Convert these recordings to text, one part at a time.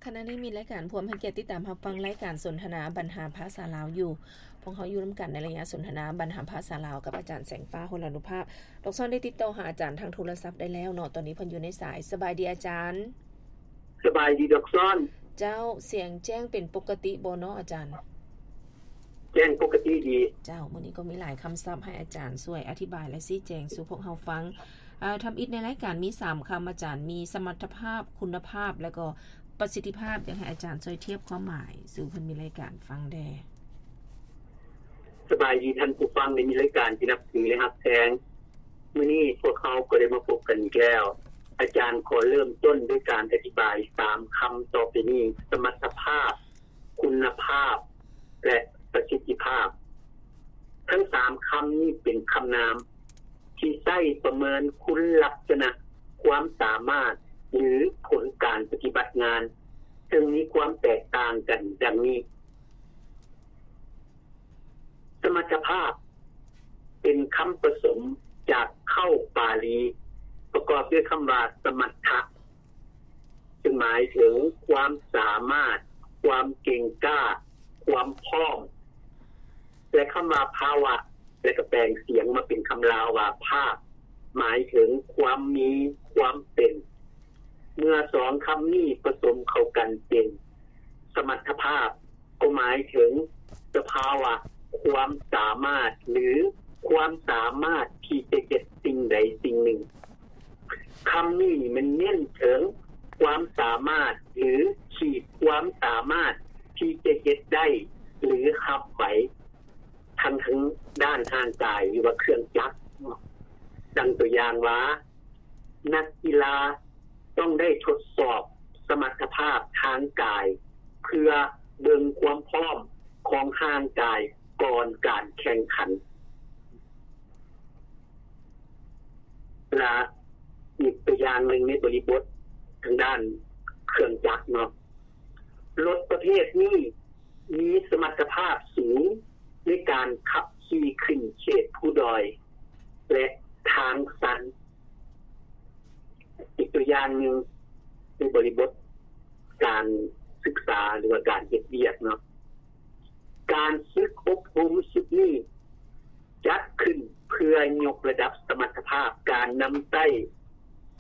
ຂະນະນີ້ມີລາຍການພວມໃຫ້ກຽດຕິດຕາມຮັບຟັງລາຍການສົນທະນາບັນຫາພາສາລາວຢູ່. ພວກເຮົາຢູ່ນຳກັນໃນໄລຍະສົນທະນາບັນຫາພາສາລາວກັບອາຈານແສງຟ້າ ໂຫລານຸພາບ. ດອກຊອນໄດ້ຕິດຕໍ່ຫາອາຈານທາງໂທລະສັບໄດ້ແລ້ວເນາະ, ຕອນນີ້ເພິ່ນຢູ່ໃນສາຍ. ສະບາຍດີອາຈານ. ສະບາຍດີດອກຊອນ. ເຈົ້າ, ສຽງແຈ້ງເປັນປົກກະຕິບໍ່ເນາະອາຈານ? ແຈ້ງປົກກະຕິດີ. ເຈົ້າ, ມື້ນີ້ກໍມີຫຼາຍຄຳສັບໃຫ້ອາຈານຊ່ວຍອະທິບາຍ ແລະ ຊີ້ແຈງສູ່ພວກເຮົາຟັງ. ເອີ ທຳອິດໃນລາຍການມີສາມຄຳອາຈານ, ມີສະມັດຖະພາບ, ຄຸນນະພາບ ແລະ ກໍປະສິດທິພາບ. ຢາກໃຫ້ອາຈານຊ່ວຍທຽບຄວາມໝາຍສູ່ເພິ່ນມີລາຍການຟັງແດ່. ສະບາຍດີທ່ານຜູ້ຟັງ ແລະ ມີລາຍການທີ່ນັບຖື ແລະ ຮັກແພງ. ມື້ນີ້ພວກເຮົາກໍໄດ້ມາພົບກັນອີກແລ້ວ. ອາຈານຂໍເລີ່ມຕົ້ນດ້ວຍການອະທິບາຍສາມຄຳຕໍ່ໄປນີ້, ສະມັດຖະພາບ, ຄຸນນະພາບ ແລະ ປະສິດທິພາບ. ທັງສາມຄຳນີ້ເປັນຄຳນາມທີ່ໃຊ້ປະເມີນຄຸນລັກສະນະ, ຄວາມສາມາດ ຫຼື ຜົນການປະຕິບັດງານ, ເຊິ່ງມີຄວາມແຕກຕ່າງກັນດັ່ງນີ້. ສະມັດຖະພາບ ເປັນຄຳປະສົມຈາກເຄົ້າປາລີ ປະກອບດ້ວຍຄຳວ່າ ສະມັດຖະ ຊຶ່ງໝາຍເຖິງຄວາມສາມາດ, ຄວາມເກັ່ງກ້າ, ຄວາມພ້ອມ ແລະ ຄຳວ່າ ພາວະ ແລະ ກໍແປງສຽງມາເປັນຄຳລາວວ່າ ພາບ ໝາຍເຖິງຄວາມມີ, ຄວາມເປັນ. ເມື່ອສອງຄຳນີ້ປະສົມເຂົ້າກັນເປັນ ສະມັດຖະພາບ ກໍໝາຍເຖິງສະພາວະຄວາມສາມາດ ຫຼື ຄວາມສາມາດທີ່ຈະເຮັດສິ່ງໃດສິ່ງໜຶ່ງ. ຄຳນີ້ແມ່ນເນັ້ນເຖິງຄວາມສາມາດ ຫຼື ຂີດຄວາມສາມາດທີ່ຈະເຮັດໄດ້ ຫຼື ຮັບໄຫວ ທັງທາງດ້ານຮ່າງກາຍ ຫຼືວ່າເຄື່ອງຈັກເນາະ. ດັ່ງຕົວຢ່າງວ່າ ນັກກິລາຕ້ອງໄດ້ທົດສອບສະມັດຖະພາບທາງກາຍ ເພື່ອເບິ່ງຄວາມພ້ອມຂອງຮ່າງກາຍກ່ອນການແຂ່ງຂັນ. ລະອີກຕົວຢ່າງໜຶ່ງໃນບໍລິບົດທາງດ້ານເຄື່ອງຈັກເນາະ, ລົດປະເພດນີ້ມີສະມັດຖະພາບສູງໃນການຂັບຂີ່ຂຶ້ນເຂດພູດອຍ ແລະ ທາງຊັນ. ອີກຕົວຢ່າງໜຶ່ງໃນບໍລິບົດການສຶກສາ ຫຼືວ່າການເຮັດວຽກເນາະ, ການຝຶກອົບຮົມຊຸດນີ້ ຈັດຂຶ້ນເພື່ອຍົກລະດັບສະມັດຖະພາບການນຳໃຊ້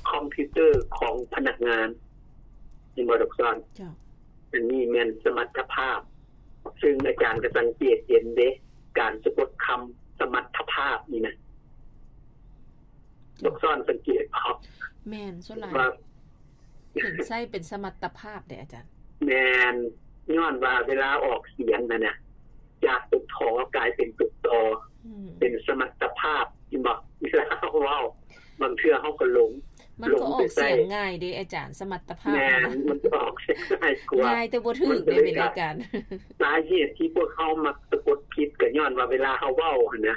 ຄອມພິວເຕີຂອງພະນັກງານ. ເຫັນບໍ່ດອກຊອນ? ເຈົ້າ. ອັນນີ້ແມ່ນສະມັດຖະພາບ, ຊຶ່ງອາຈານກໍສັງເກດເຫັນເດ ການສະກົດຄຳສະມັດຖະພາບນີ້ນະ. ເຈົ້າ. ດອກຊອນສັງເກດບໍ່? ແມ່ນ, ສ່ວນຫຼາຍ ວ່າ ເຫັນໃຊ້ເປັນສະມັດຕະພາບເດ້ອາຈານ. ແມ່ນ, ຍ້ອນວ່າເວລາອອກສຽງຫັ້ນນະ ຈາກຕົວ ຖ ກາຍເປັນຕົວ ຕ ອືມ ເປັນສະມັດຕະພາບ, ເຫັນບໍ່? ເວລາເຮົາເວົ້າ ບາງເທື່ອເຮົາກໍຫຼົງ, ມັນກໍອອກສຽງງ່າຍເດ້ອາຈານ, ສະມັດຕະພາບ. ແມ່ນ, ມັນກໍອອກສຽງງ່າຍກວ່າ. ງ່າຍແຕ່ບໍ່ຖືກເດ້ ເປັນລາຍການ. ສາເຫດທີ່ພວກເຮົາມັກສະກົດຜິດ ກໍຍ້ອນວ່າເວລາເຮົາເວົ້າຫັ້ນນະ,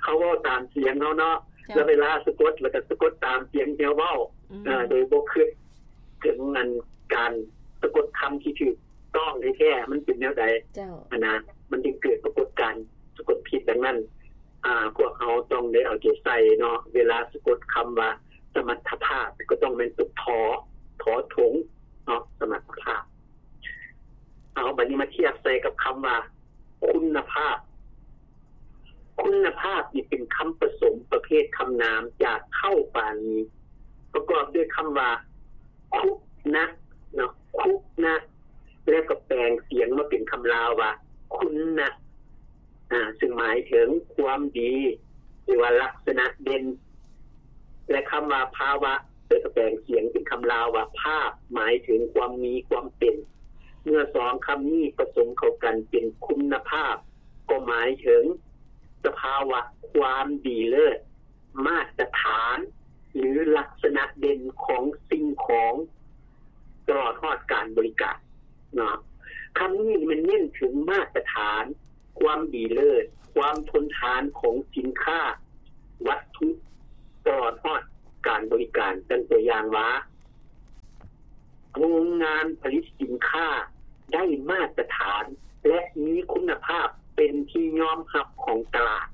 ເຮົາເວົ້າຕາມສຽງເຮົາເນາະ, ເຈົ້າ. ແລ້ວເວລາສະກົດ ແລ້ວກໍສະກົດຕາມສຽງທີ່ເຮົາເວົ້າ, ອືມ ເອີ ໂດຍບໍ່ຄິດເຖິງອັນການສະກົດຄຳທີ່ຖືກຕ້ອງແທ້ໆ ມັນເປັນແນວໃດ, ເຈົ້າ. ຫັ້ນນະ, ມັນຈຶ່ງເກີດປາກົດການສະກົດຜິດ. ດັ່ງນັ້ນ ອາ ພວກເຮົາຕ້ອງໄດ້ເອົາໃຈໃສ່ເນາະ, ເວລາສະກົດຄຳວ່າສະມັດຖະພາບ ກໍຕ້ອງແມ່ນຕົວ ຖ ຖ ຖົງເນາະ, ສະມັດຖະພາບ. ເອົາ ບັດນີ້ມາທຽບໃສ່ກັບຄຳວ່າ ຄຸນນະພາບ. ຄຸນນະພາບນີ້ເປັນຄຳປະສົມປະເພດຄຳນາມຈາກເຄົ້າປາລີ ປະກອບດ້ວຍຄຳວ່າ ຄຸນະ ເນາະ, ຄຸນະ ແລ້ວກໍແປງສຽງມາເປັນຄຳລາວວ່າ ຄຸນນະ ອາ ຊຶ່ງໝາຍເຖິງຄວາມດີ ຫຼືວ່າລັກສະນະເດັ່ນ. ແລະ ຄຳວ່າພາວະ ເພິ່ນກໍແປງສຽງເປັນຄຳລາວວ່າພາບ ໝາຍເຖິງຄວາມມີຄວາມເປັນ. ເມື່ອສອງຄຳນີ້ປະສົມເຂົ້າກັນເປັນຄຸນນະພາບ ກໍໝາຍເຖິງສະພາວະຄວາມດີເລີດ, ມາດຕະຖານ ຫຼື ລັກສະນະເດັ່ນຂອງສິ່ງຂອງ ຕະຫຼອດຮອດການບໍລິການເນາະ. ຄຳນີ້ມັນເນັ້ນເຖິງມາດຕະຖານ ຄວາມດີເລີດ, ຄວາມທົນທານຂອງສິນຄ້າ, ວັດຖຸ ຕະຫຼອດຮອດການບໍລິການ. ດັ່ງຕົວຢ່າງວ່າ ໂຮງງານຜະລິດສິນຄ້າໄດ້ມາດຕະຖານ ແລະ ມີຄຸນນະພາບເປັນທີ່ຍອມຮັບຂອງຕະຫຼາດ.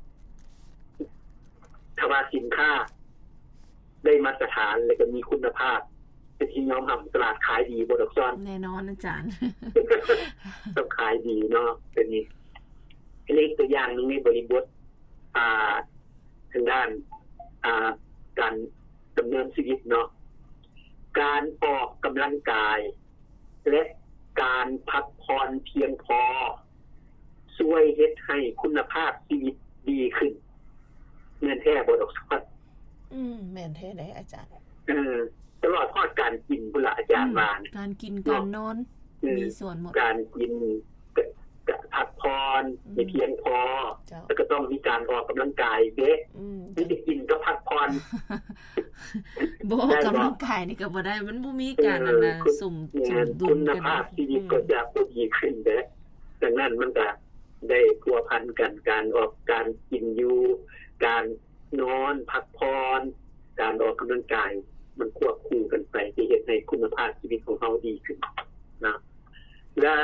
ຖ້າວ່າສິນຄ້າໄດ້ມາດຕະຖານ ແລະ ກໍມີຄຸນນະພາບ ເປັນທີ່ຍອມຮັບ ຕະຫຼາດຂາຍດີບໍ່ດອກຊອນ? ແນ່ນອນອາຈານ ຕ້ອງຂາຍດີເນາະ ເປັນນີ້ ອັນນີ້ຕົວຢ່າງໜຶ່ງໃນບໍລິບົດ ອ່າ ທາງດ້ານ ອ່າ ການດຳເນີນຊີວິດເນາະ ການອອກກຳລັງກາຍ ແລະ ການພັກຜ່ອນພຽງພໍ ຊ່ວຍເຮັດໃຫ້ຄຸນນະພາບຊີວິດດີຂຶ້ນ ແມ່ນແທ້ບໍ່ດອກຊອນ? ອືມ ແມ່ນແທ້ເດ້ອາຈານ ເອີ ຕະຫຼອດຮອດການກິນພຸ້ນລະອາຈານວ່າ ການກິນ ການນອນ ເອີ ມີສ່ວນໝົດ ການກິນ ກະ ກະພັກຜ່ອນ ອືມ ໃຫ້ພຽງພໍ ເຈົ້າ ແລ້ວກໍຕ້ອງມີການອອກກຳລັງກາຍເດ້ ອືມ ມີແຕ່ກິນກັບພັກຜ່ອນ ບໍ່ອອກກຳລັງກາຍນີ້ກໍບໍ່ໄດ້ ມັນບໍ່ມີການ ເອີ ອັນນະ ສົມ ສົມດຸນກັນ ຄຸນນະພາບຊີວິດ ອືມ ກໍຈະບໍ່ດີຂຶ້ນເດ້ ດັ່ງນັ້ນມັນກໍໄດ້ພົວພັນກັນ ການອອກ ການກິນຢູ່ ການ ນອນ ພັກຜ່ອນ ການອອກກຳລັງກາຍ ມັນຄວບຄູ່ກັນໄປ ຈະເຮັດໃຫ້ຄຸນນະພາບຊີວິດຂອງເຮົາດີຂຶ້ນນະ ແລະ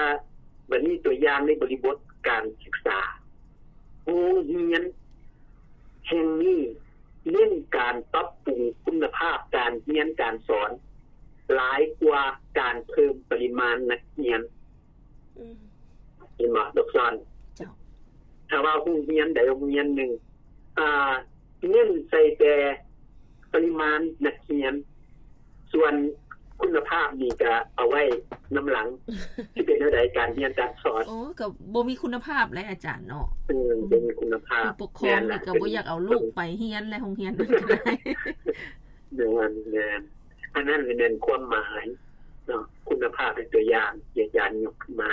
ບັດນີ້ຕົວຢ່າງໃນບໍລິບົດການສຶກສາ ໂຮງຮຽນແຫ່ງນີ້ເນັ້ນການປັບປຸງຄຸນນະພາບການຮຽນການສອນ ຫຼາຍກວ່າການເພີ່ມປະລິມານນັກຮຽນ. ອືມ ເຫັນບໍ່ດອກຊອນ? ເຈົ້າ ຖ້າວ່າໂຮງຮຽນໃດໂຮງຮຽນໜຶ່ງ ອ່າ ເນັ້ນໃສ່ແຕ່ປະລິມານນັກຮຽນ ສ່ວນຄຸນນະພາບນີ້ກະເອົາໄວ້ນຳຫຼັງ ຊິເປັນແນວໃດການຮຽນການສອນ? ໂອ້ ກໍບໍ່ມີຄຸນນະພາບແຫຼະອາຈານເນາະ ເອີ ບໍ່ມີຄຸນນະພາບ ຜູ້ປົກຄອງນີ້ກໍບໍ່ຢາກເອົາລູກໄປຮຽນແລະໂຮງຮຽນນັ້ນກໍໄດ້ ແມ່ນ ແມ່ນ ອັນນັ້ນແມ່ນຄວາມໝາຍເນາະ ຄຸນນະພາບເປັນຕົວຢ່າງທີ່ອາຈານຍົກຂຶ້ນມາ.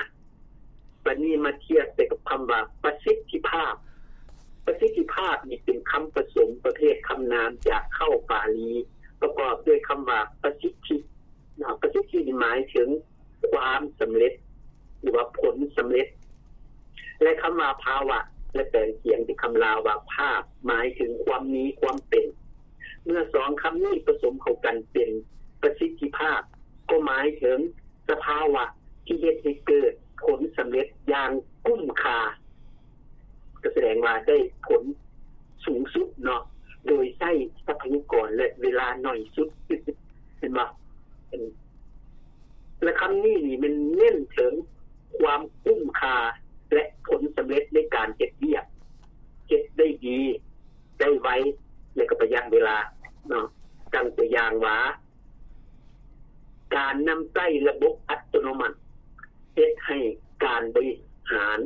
ບັດນີ້ມາທຽບໃສ່ກັບຄຳວ່າປະສິດທິພາບ. ປະສິດທິພາບນີ້ເປັນຄຳປະສົມປະເພດຄຳນາມຈາກເຄົ້າປາລີ ປະກອບດ້ວຍຄຳວ່າປະສິດທິເນາະ ປະສິດທິນີ້ໝາຍເຖິງຄວາມສຳເລັດ ຫຼືວ່າຜົນສຳເລັດ ແລະ ຄຳວ່າພາວະ ແລະ ແປງສຽງເປັນຄຳລາວວ່າພາບ ໝາຍເຖິງຄວາມມີຄວາມເປັນ. ເມື່ອສອງຄຳນີ້ປະສົມເຂົ້າກັນເປັນປະສິດທິພາບ ກໍໝາຍເຖິງ ສະພາວະທີ່ເຮັດໃຫ້ເກີດຜົນສຳເລັດຢ່າງກຸ້ມຄ່າ ກໍສະແດງວ່າໄດ້ຜົນສູງສຸດເນາະ ໂດຍໃຊ້ຊັບພະຍາກອນ ແລະ ເວລາໜ້ອຍສຸດ ເຫັນບໍ່? ແລະ ຄຳນີ້ນີ້ແມ່ນເນັ້ນເຖິງຄວາມກຸ້ມຄ່າ ແລະ ຜົນສຳເລັດໃນການເຮັດວຽກ ເຮັດໄດ້ດີ ໄດ້ໄວ ແລະ ກໍປະຢັດເວລາເນາະ. ຕັ້ງຕົວຢ່າງວ່າ ການນຳໃຊ້ລະບົບອັດຕະໂນມັດ ເຮັດໃຫ້ການບໍລິຫານ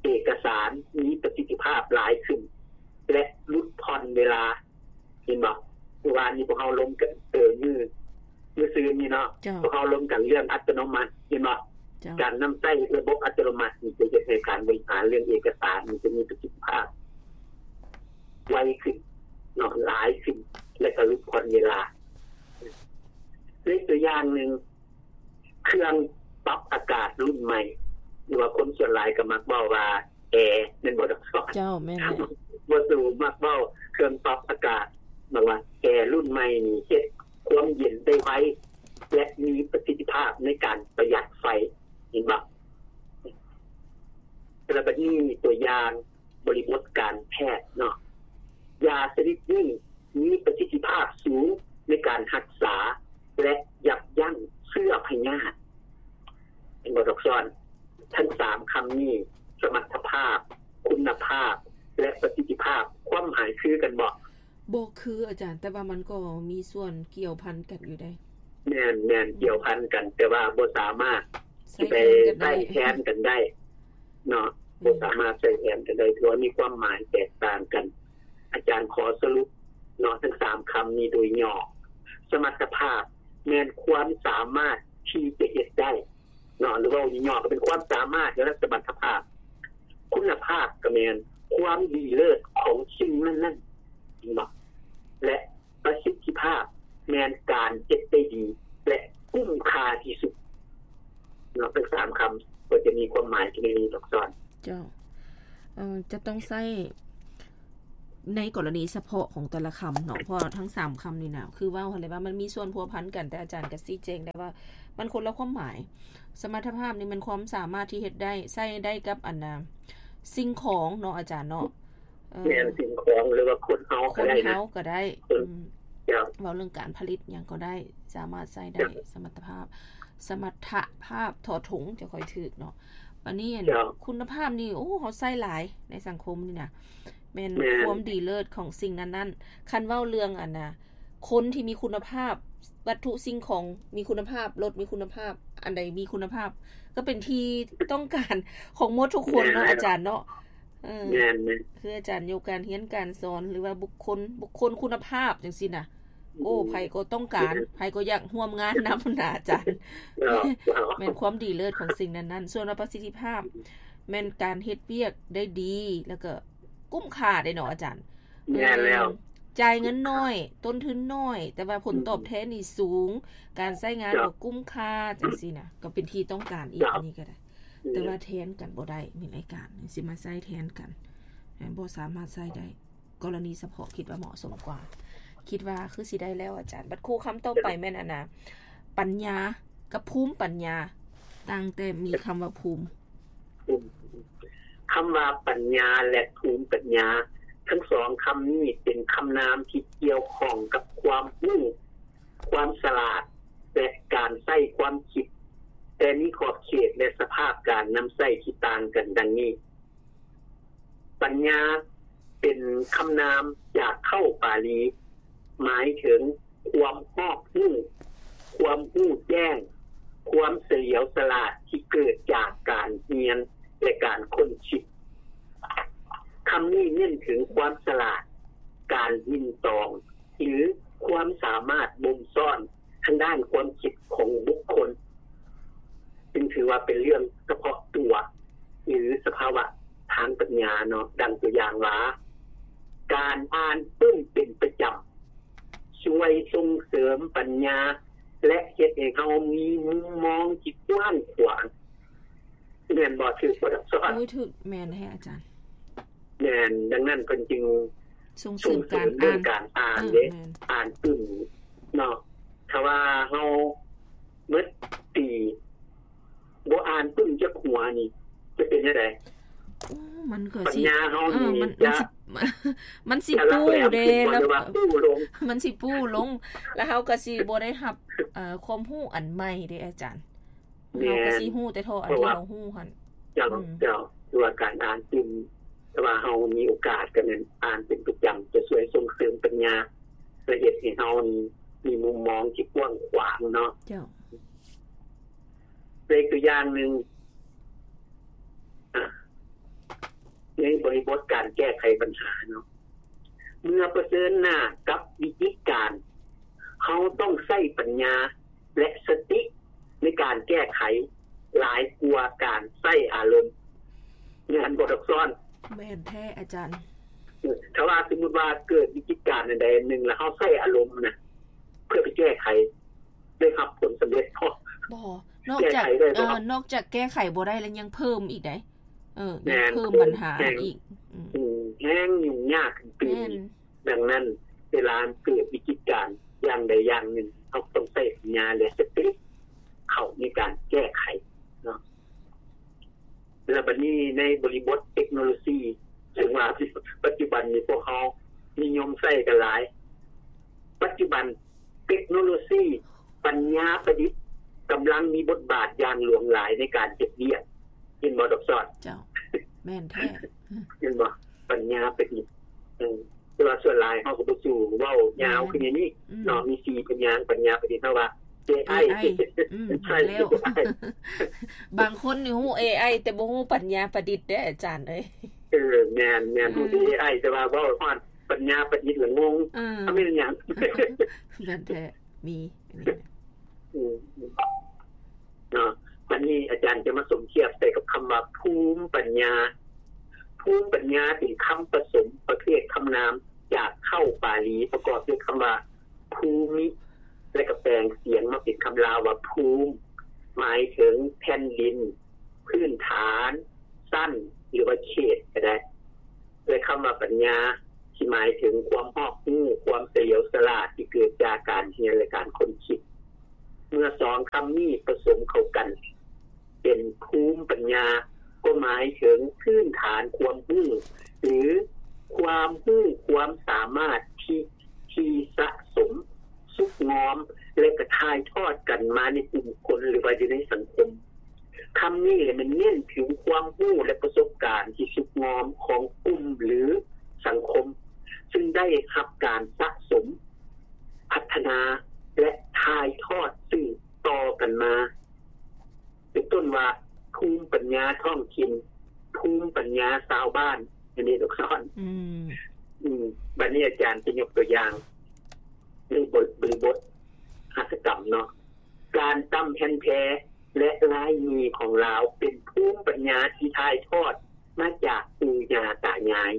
ເອກະສານມີປະສິດທິພາບຫຼາຍຂຶ້ນ ແລະ ຫຼຸດຜ່ອນເວລາ. ເຫັນບໍ່? ມື້ວານນີ້ພວກເຮົາລົມກັນ ເອີ ມື້ ມື້ຊືນນີ້ເນາະ ເຈົ້າ ພວກເຮົາລົມກັນເລື່ອງອັດຕະໂນມັດ ເຫັນບໍ່? ເຈົ້າ ການນຳໃຊ້ລະບົບອັດຕະໂນມັດນີ້ຈະເຮັດໃຫ້ການບໍລິຫານເລື່ອງເອກະສານນີ້ຈະມີປະສິດທິພາບໄວຂຶ້ນເນາະ ຫຼາຍຂຶ້ນ ແລະ ກໍຫຼຸດຜ່ອນເວລາ. ໃນຕົວຢ່າງໜຶ່ງ ເຄື່ອງປັບອາກາດລຸ້ນໃໝ່ ຫຼືວ່າຄົນສ່ວນຫຼາຍກໍມັກເວົ້າວ່າແອ ແມ່ນບໍ່ດອກຊອນ? ເຈົ້າ ແມ່ນແຫຼະ ບໍ່ສູມັກເວົ້າເຄື່ອງປັບອາກາດ ບອກວ່າແອລຸ້ນໃໝ່ນີ້ເຮັດຄວາມເຢັນໄດ້ໄວ ແລະ ມີປະສິດທິພາບໃນການປະຢັດໄຟ ເຫັນບໍ່? ແລ້ວບັດນີ້ຕົວຢ່າງ ບໍລິບົດການແພດເນາະ ຢາຊະນິດນີ້ມີປະສິດທິພາບສູງໃນການຮັກສາ ແລະ ຢັບຢັ້ງເຊື້ອພະຍາດ. ເຫັນບໍ່ດອກຊອນ? ທັງສາມຄຳນີ້ ສະມັດຖະພາບ, ຄຸນນະພາບ ແລະ ປະສິດທິພາບ ຄວາມໝາຍຄືກັນບໍ່? ບໍ່ຄືອາຈານ, ແຕ່ວ່າມັນກໍມີສ່ວນກ່ຽວພັນກັນຢູ່ໃດ໋. ແມ່ນ, ແມ່ນ, ກ່ຽວພັນກັນ, ແຕ່ວ່າບໍ່ສາມາດຊິໄປໃຊ້ແທນກັນໄດ້ເນາະ, ບໍ່ສາມາດໃຊ້ແທນກັນໄດ້, ຖືວ່າມີຄວາມໝາຍແຕກຕ່າງກັນ. ອາຈານຂໍສະຫຼຸບເນາະ ທັງສາມຄຳນີ້ໂດຍຫຍໍ້. ສະມັດຖະພາບແມ່ນຄວາມສາມາດທີ່ຈະເຮັດໄດ້ເນາະ, ຫຼືເວົ້າຫຍໍ້ໆກໍເປັນຄວາມສາມາດ ແລະ ສະມັດຖະພາບ. ຄຸນນະພາບກໍແມ່ນຄວາມດີເລີດຂອງສິ່ງນັ້ນໆເນາະ ແລະ ປະສິດທິພາບແມ່ນການເຮັດໄດ້ດີ ແລະ ກຸ້ມຄ່າທີ່ສຸດເນາະ. ທັງສາມຄຳກໍຈະມີຄວາມໝາຍທີ່ມີດອກຊອນ. ເຈົ້າ. ເອີ ຈະຕ້ອງໃຊ້ໃນກໍລະນີສະເພາະຂອງແຕ່ລະຄຳເນາະ, ເພາະວ່າທັງສາມຄຳນີ້ນະ ຄືເວົ້າຫັ້ນແຫຼະວ່າມັນມີສ່ວນພົວພັນກັນ, ແຕ່ອາຈານກໍຊີ້ແຈງໄດ້ວ່າມັນຄົນລະຄວາມໝາຍ. ສະມັດຖະພາບນີ້ແມ່ນຄວາມສາມາດທີ່ເຮັດໄດ້, ໃຊ້ໄດ້ກັບອັນນາ ສິ່ງຂອງເນາະ ອາຈານເນາະ. ເອີ ແມ່ນ, ສິ່ງຂອງ ຫຼືວ່າຄົນເຮົາກໍໄດ້ນະ, ຄົນເຮົາກໍໄດ້. ເຈົ້າ. ອືມ. ເວົ້າເລື່ອງການຜະລິດຫຍັງກໍໄດ້ ສາມາດໃຊ້ໄດ້ ສະມັດຕະພາບ ສະມັດຕະພາບ ທ ຖົງ ຈະຄ່ອຍຖືກເນາະ. ບາດນີ້ ເຈົ້າ ຄຸນນະພາບນີ້ ໂອ້ ເຮົາໃຊ້ຫຼາຍໃນສັງຄົມນີ້ນະ ແມ່ນ ແມ່ນ ຄວາມດີເລີດຂອງສິ່ງນັ້ນໆ. ຄັນເວົ້າເລື່ອງອັນນະ ຄົນທີ່ມີຄຸນນະພາບ ວັດຖຸສິ່ງຂອງມີຄຸນນະພາບ ລົດມີຄຸນນະພາບ ອັນໃດມີຄຸນນະພາບ ກໍເປັນທີ່ຕ້ອງການຂອງໝົດທຸກຄົນເນາະ ແມ່ນແລ້ວ ອາຈານເນາະ. ເອີ ແມ່ນໆ ຄືອາຈານຢູ່ການຮຽນການສອນ ຫຼືວ່າບຸກຄົນ ບຸກຄົນຄຸນນະພາບຈັ່ງຊີ້ນະ ໂອ້ ອືມ ໃຜກໍຕ້ອງການ ແມ່ນ ໃຜກໍຢາກຮ່ວມງານນຳນະອາຈານ. ເຈົ້າ ເຈົ້າ ແມ່ນຄວາມດີເລີດຂອງສິ່ງນັ້ນໆ. ສ່ວນວ່າປະສິດທິພາບ ອືມ ແມ່ນການເຮັດວຽກໄດ້ດີ ແລ້ວກໍ ຄຸ້ມຄ່າເດ້ເນາະອາຈານ. ແມ່ນແລ້ວ ເອີ ຈ່າຍເງິນໜ້ອຍ ຕົ້ນທຶນໜ້ອຍ ແຕ່ວ່າຜົນຕອບແທນນີ້ສູງ ອືມ ການໃຊ້ງານ ເຈົ້າ ກໍຄຸ້ມຄ່າ ຈັ່ງຊີ້ນະ ກໍເປັນທີ່ຕ້ອງການອີກ ເຈົ້າ ອັນນີ້ກໍໄດ້ ອືມ ແຕ່ວ່າແທນກັນບໍ່ໄດ້ ມີລາຍການຊິມາໃຊ້ແທນກັນ ບໍ່ສາມາດໃຊ້ໄດ້ ກໍລະນີສະເພາະຄິດວ່າເໝາະສົມກວ່າ ຄິດວ່າຄືຊິໄດ້ແລ້ວອາຈານ. ບັດຄູ່ຄຳຕໍ່ໄປ ເຈົ້າ ແມ່ນອັນນະ ປັນຍາກັບພູມປັນຍາ ຕັ້ງແຕ່ມີຄຳວ່າພູມ ອືມ ຄຳວ່າປັນຍາ ແລະ ພູມປັນຍາ ທັງສອງຄຳນີ້ເປັນຄຳນາມທີ່ກ່ຽວຂ້ອງກັບຄວາມຮູ້, ຄວາມສະຫຼາດ ແລະ ການໃຊ້ຄວາມຄິດ, ແຕ່ມີຂອບເຂດ ແລະ ສະພາບການນຳໃຊ້ທີ່ຕ່າງກັນດັ່ງນີ້. ປັນຍາເປັນຄຳນາມຈາກເຄົ້າປາລີ ໝາຍເຖິງຄວາມຮອບຮູ້, ຄວາມຮູ້ແຈ້ງ, ຄວາມສະຫຼຽວສະຫຼາດທີ່ເກີດຈາກການຮຽນ ແລະ ການຄົ້ນຄິດ. ຄຳນີ້ເນັ້ນເຖິງຄວາມສະຫຼາດ, ການຍິງຕອງ ຫຼື ຄວາມສາມາດບົ່ມຊ້ອນ ທາງດ້ານຄວາມຄິດຂອງບຸກຄົນ ຈຶ່ງຖືວ່າເປັນເລື່ອງສະເພາະຕົວ ຫຼື ສະພາວະທາງປັນຍາເນາະ. ດັ່ງຕົວຢ່າງວ່າ ການອ່ານປຶ້ມເປັນປະຈຳ ຊ່ວຍສົ່ງເສີມປັນຍາ ແລະ ເຮັດໃຫ້ເຮົາມີມຸມມອງທີ່ກວ້າງຂວາງ. ແມ່ນບໍ່? ຖືກບໍ່ ດອກຊອນ? ໂອ້ຍ ຖືກ ແມ່ນແທ້ອາຈານ. ແມ່ນ, ດັ່ງນັ້ນເພິ່ນຈຶ່ງສົ່ງເສີມການອ່ານ ສົ່ງເສີມເລື່ອງການອ່ານເດ້ ເອີ ແມ່ນ ອ່ານປຶ້ມເນາະ. ຖ້າວ່າເຮົາໝົດປີບໍ່ອ່ານປຶ້ມຈັກຫົວນີ້ ຈະເປັນຈັ່ງໃດ? ໂອ້ ມັນກໍ ປັນຍາເຮົານີ້ ເອີ ມັນ ຈະ ມັນຊິ ມັນຊິປູເດ້ ຈະຫຼັກແຫຼມຂຶ້ນບໍ່ ແລ້ວ ຫຼືວ່າປູລົງ? ມັນຊິປູລົງ ແລ້ວເຮົາກໍຊິບໍ່ໄດ້ຮັບ ເອີ ຄວາມຮູ້ອັນໃໝ່ເດ້ອາຈານ. ແມ່ນ ເຮົາກໍຊິຮູ້ແຕ່ເທົ່າອັນທີ່ເຮົາຮູ້ຫັ້ນ. ເຈົ້າ ອືມ ເຈົ້າ ຄືວ່າການອ່ານຕື່ມ ຖ້າວ່າເຮົາມີໂອກາດກໍແມ່ນອ່ານເປັນປະຈຳ ຈະຊ່ວຍສົ່ງເສີມປັນຍາ ແລະ ເຮັດໃຫ້ເຮົານີ້ມີມຸມມອງທີ່ກວ້າງຂວາງເນາະ. ເຈົ້າ ເປັນຕົວຢ່າງໜຶ່ງ ອາ ໃນບໍລິບົດການແກ້ໄຂບັນຫາເນາະ ເມື່ອປະເຊີນໜ້າກັບວິກິດການ ເຮົາຕ້ອງໃຊ້ປັນຍາ ແລະ ສະຕິໃນການແກ້ໄຂ ຫຼາຍກວ່າການໃຊ້ອາລົມ. ແມ່ນບໍ່ ດອກຊອນ? ແມ່ນແທ້ອາຈານ. ຖ້າວ່າສົມມຸດວ່າເກີດວິກິດການອັນໃດອັນໜຶ່ງ ແລ້ວເຮົາໃຊ້ອາລົມນະ ເພື່ອໄປແກ້ໄຂ ໄດ້ຮັບຜົນສຳເລັດບໍ່? ບໍ່. ນອກຈາກ ແກ້ໄຂໄດ້ບໍ່? ເອີ ນອກຈາກແກ້ໄຂບໍ່ໄດ້ແລ້ວ ຍັງເພີ່ມອີກໃດ໋. ເອີ ແມ່ນ ຍັງເພີ່ມບັນຫາອີກ. ອືມ ອືມ ແຮງຫຍຸ້ງຍາກຂຶ້ນໄປອີກ. ແມ່ນ. ດັ່ງນັ້ນ ເວລາເກີດວິກິດການຢ່າງໃດຢ່າງໜຶ່ງ ເຮົາຕ້ອງໃຊ້ປັນຍາ ແລະ ສະຕິເຂົ້າໃນການແກ້ໄຂເນາະ. ແລ້ວບັດນີ້ໃນບໍລິບົດເຕັກໂນໂລຊີ ເຊິ່ງວ່າປັດຈຸບັນນີ້ພວກເຮົານິຍົມໃຊ້ກັນຫຼາຍ. ປັດຈຸບັນເຕັກໂນໂລຊີ ປັນຍາປະດິດ ກຳລັງມີບົດບາດຢ່າງຫຼວງຫຼາຍໃນການເຮັດວຽກ. ເຫັນບໍ່ ດອກຊອນ? ເຈົ້າ ແມ່ນແທ້. ເຫັນບໍ່? ປັນຍາປະດິດ. ເອີ ແຕ່ວ່າສ່ວນຫຼາຍເຮົາກໍບໍ່ສູ້ເວົ້າຍາວ ແມ່ນ ຄືດຽວນີ້ເນາະ. ອືມ ມີສີ່ພະຍາງ ປັນຍາປະດິດ ເຮົາວ່າ ເອໄອ. ເອໄອ ອືມ ໃຊ່ ແລ້ວ ເອໄອ. ບາງຄົນນີ້ຮູ້ເອໄອ ແຕ່ບໍ່ຮູ້ປັນຍາປະດິດເດ້ອາຈານເອີຍ. ເອີ ແມ່ນໆ. ອືມ ຮູ້ແຕ່ເອໄອ ແຕ່ວ່າເວົ້າຮອດປັນຍາປະດິດລະງົງ. ເອີ ເຂົາແມ່ນຫຍັງ? ແມ່ນແທ້. ມີ ອືມ ເນາະ. ບັດນີ້ອາຈານຈະມາສົມທຽບໃສ່ກັບຄຳວ່າ ພູມປັນຍາ. ພູມປັນຍາເປັນຄຳປະສົມປະເພດຄຳນາມຈາກເຄົ້າປາລີ ປະກອບດ້ວຍຄຳວ່າ ພູມິ ແລະ ກໍແປງສຽງມາເປັນຄຳລາວວ່າ ພູມ ໝາຍເຖິງແຜ່ນດິນ, ພື້ນຖານ, ຊັ້ນ ຫຼືວ່າເຂດກໍໄດ້. ແລະ ຄຳວ່າປັນຍາ ທີ່ໝາຍເຖິງຄວາມຮອບຮູ້, ຄວາມສະຫຼຽວສະຫຼາດທີ່ເກີດຈາກການຮຽນ ແລະ ການຄົ້ນຄິດ. ເມື່ອສອງຄຳນີ້ປະສົມເຂົ້າກັນເປັນພູມປັນຍາ ກໍໝາຍເຖິງພື້ນຖານຄວາມຮູ້ ຫຼື ຄວາມຮູ້ຄວາມສາມາດທີ່ ທີ່ສະສົມ ສຸກງອມ ແລະ ກະຖ່າຍທອດກັນມາໃນກຸ່ມຄົນ ຫຼືວ່າຢູ່ໃນສັງຄົມ. ຄຳນີ້ແຫຼະແມ່ນເນັ້ນເຖິງຄວາມຮູ້ ແລະ ປະສົບການທີ່ສຸກງອມຂອງກຸ່ມ ຫຼື ສັງຄົມ ຊຶ່ງໄດ້ຮັບການສະສົມ, ພັດທະນາ ແລະ ຖ່າຍທອດສືບຕໍ່ກັນມາ. ເປັນຕົ້ນວ່າ ພູມປັນຍາທ້ອງຖິ່ນ, ພູມປັນຍາຊາວບ້ານ ອັນນີ້ດອກຊອນ. ອືມ ອືມ ບັດນີ້ອາຈານຈະຍົກຕົວຢ່າງໃນບົດ ບໍລິບົດຫັດຖະກຳເນາະ, ການຕຳແຜ່ນແພ ແລະ ລາຍໝີ່ຂອງລາວ ເປັນພູມປັນຍາທີ່ຖ່າຍທອດມາຈາກປູ່ຍ່າຕາຍາຍ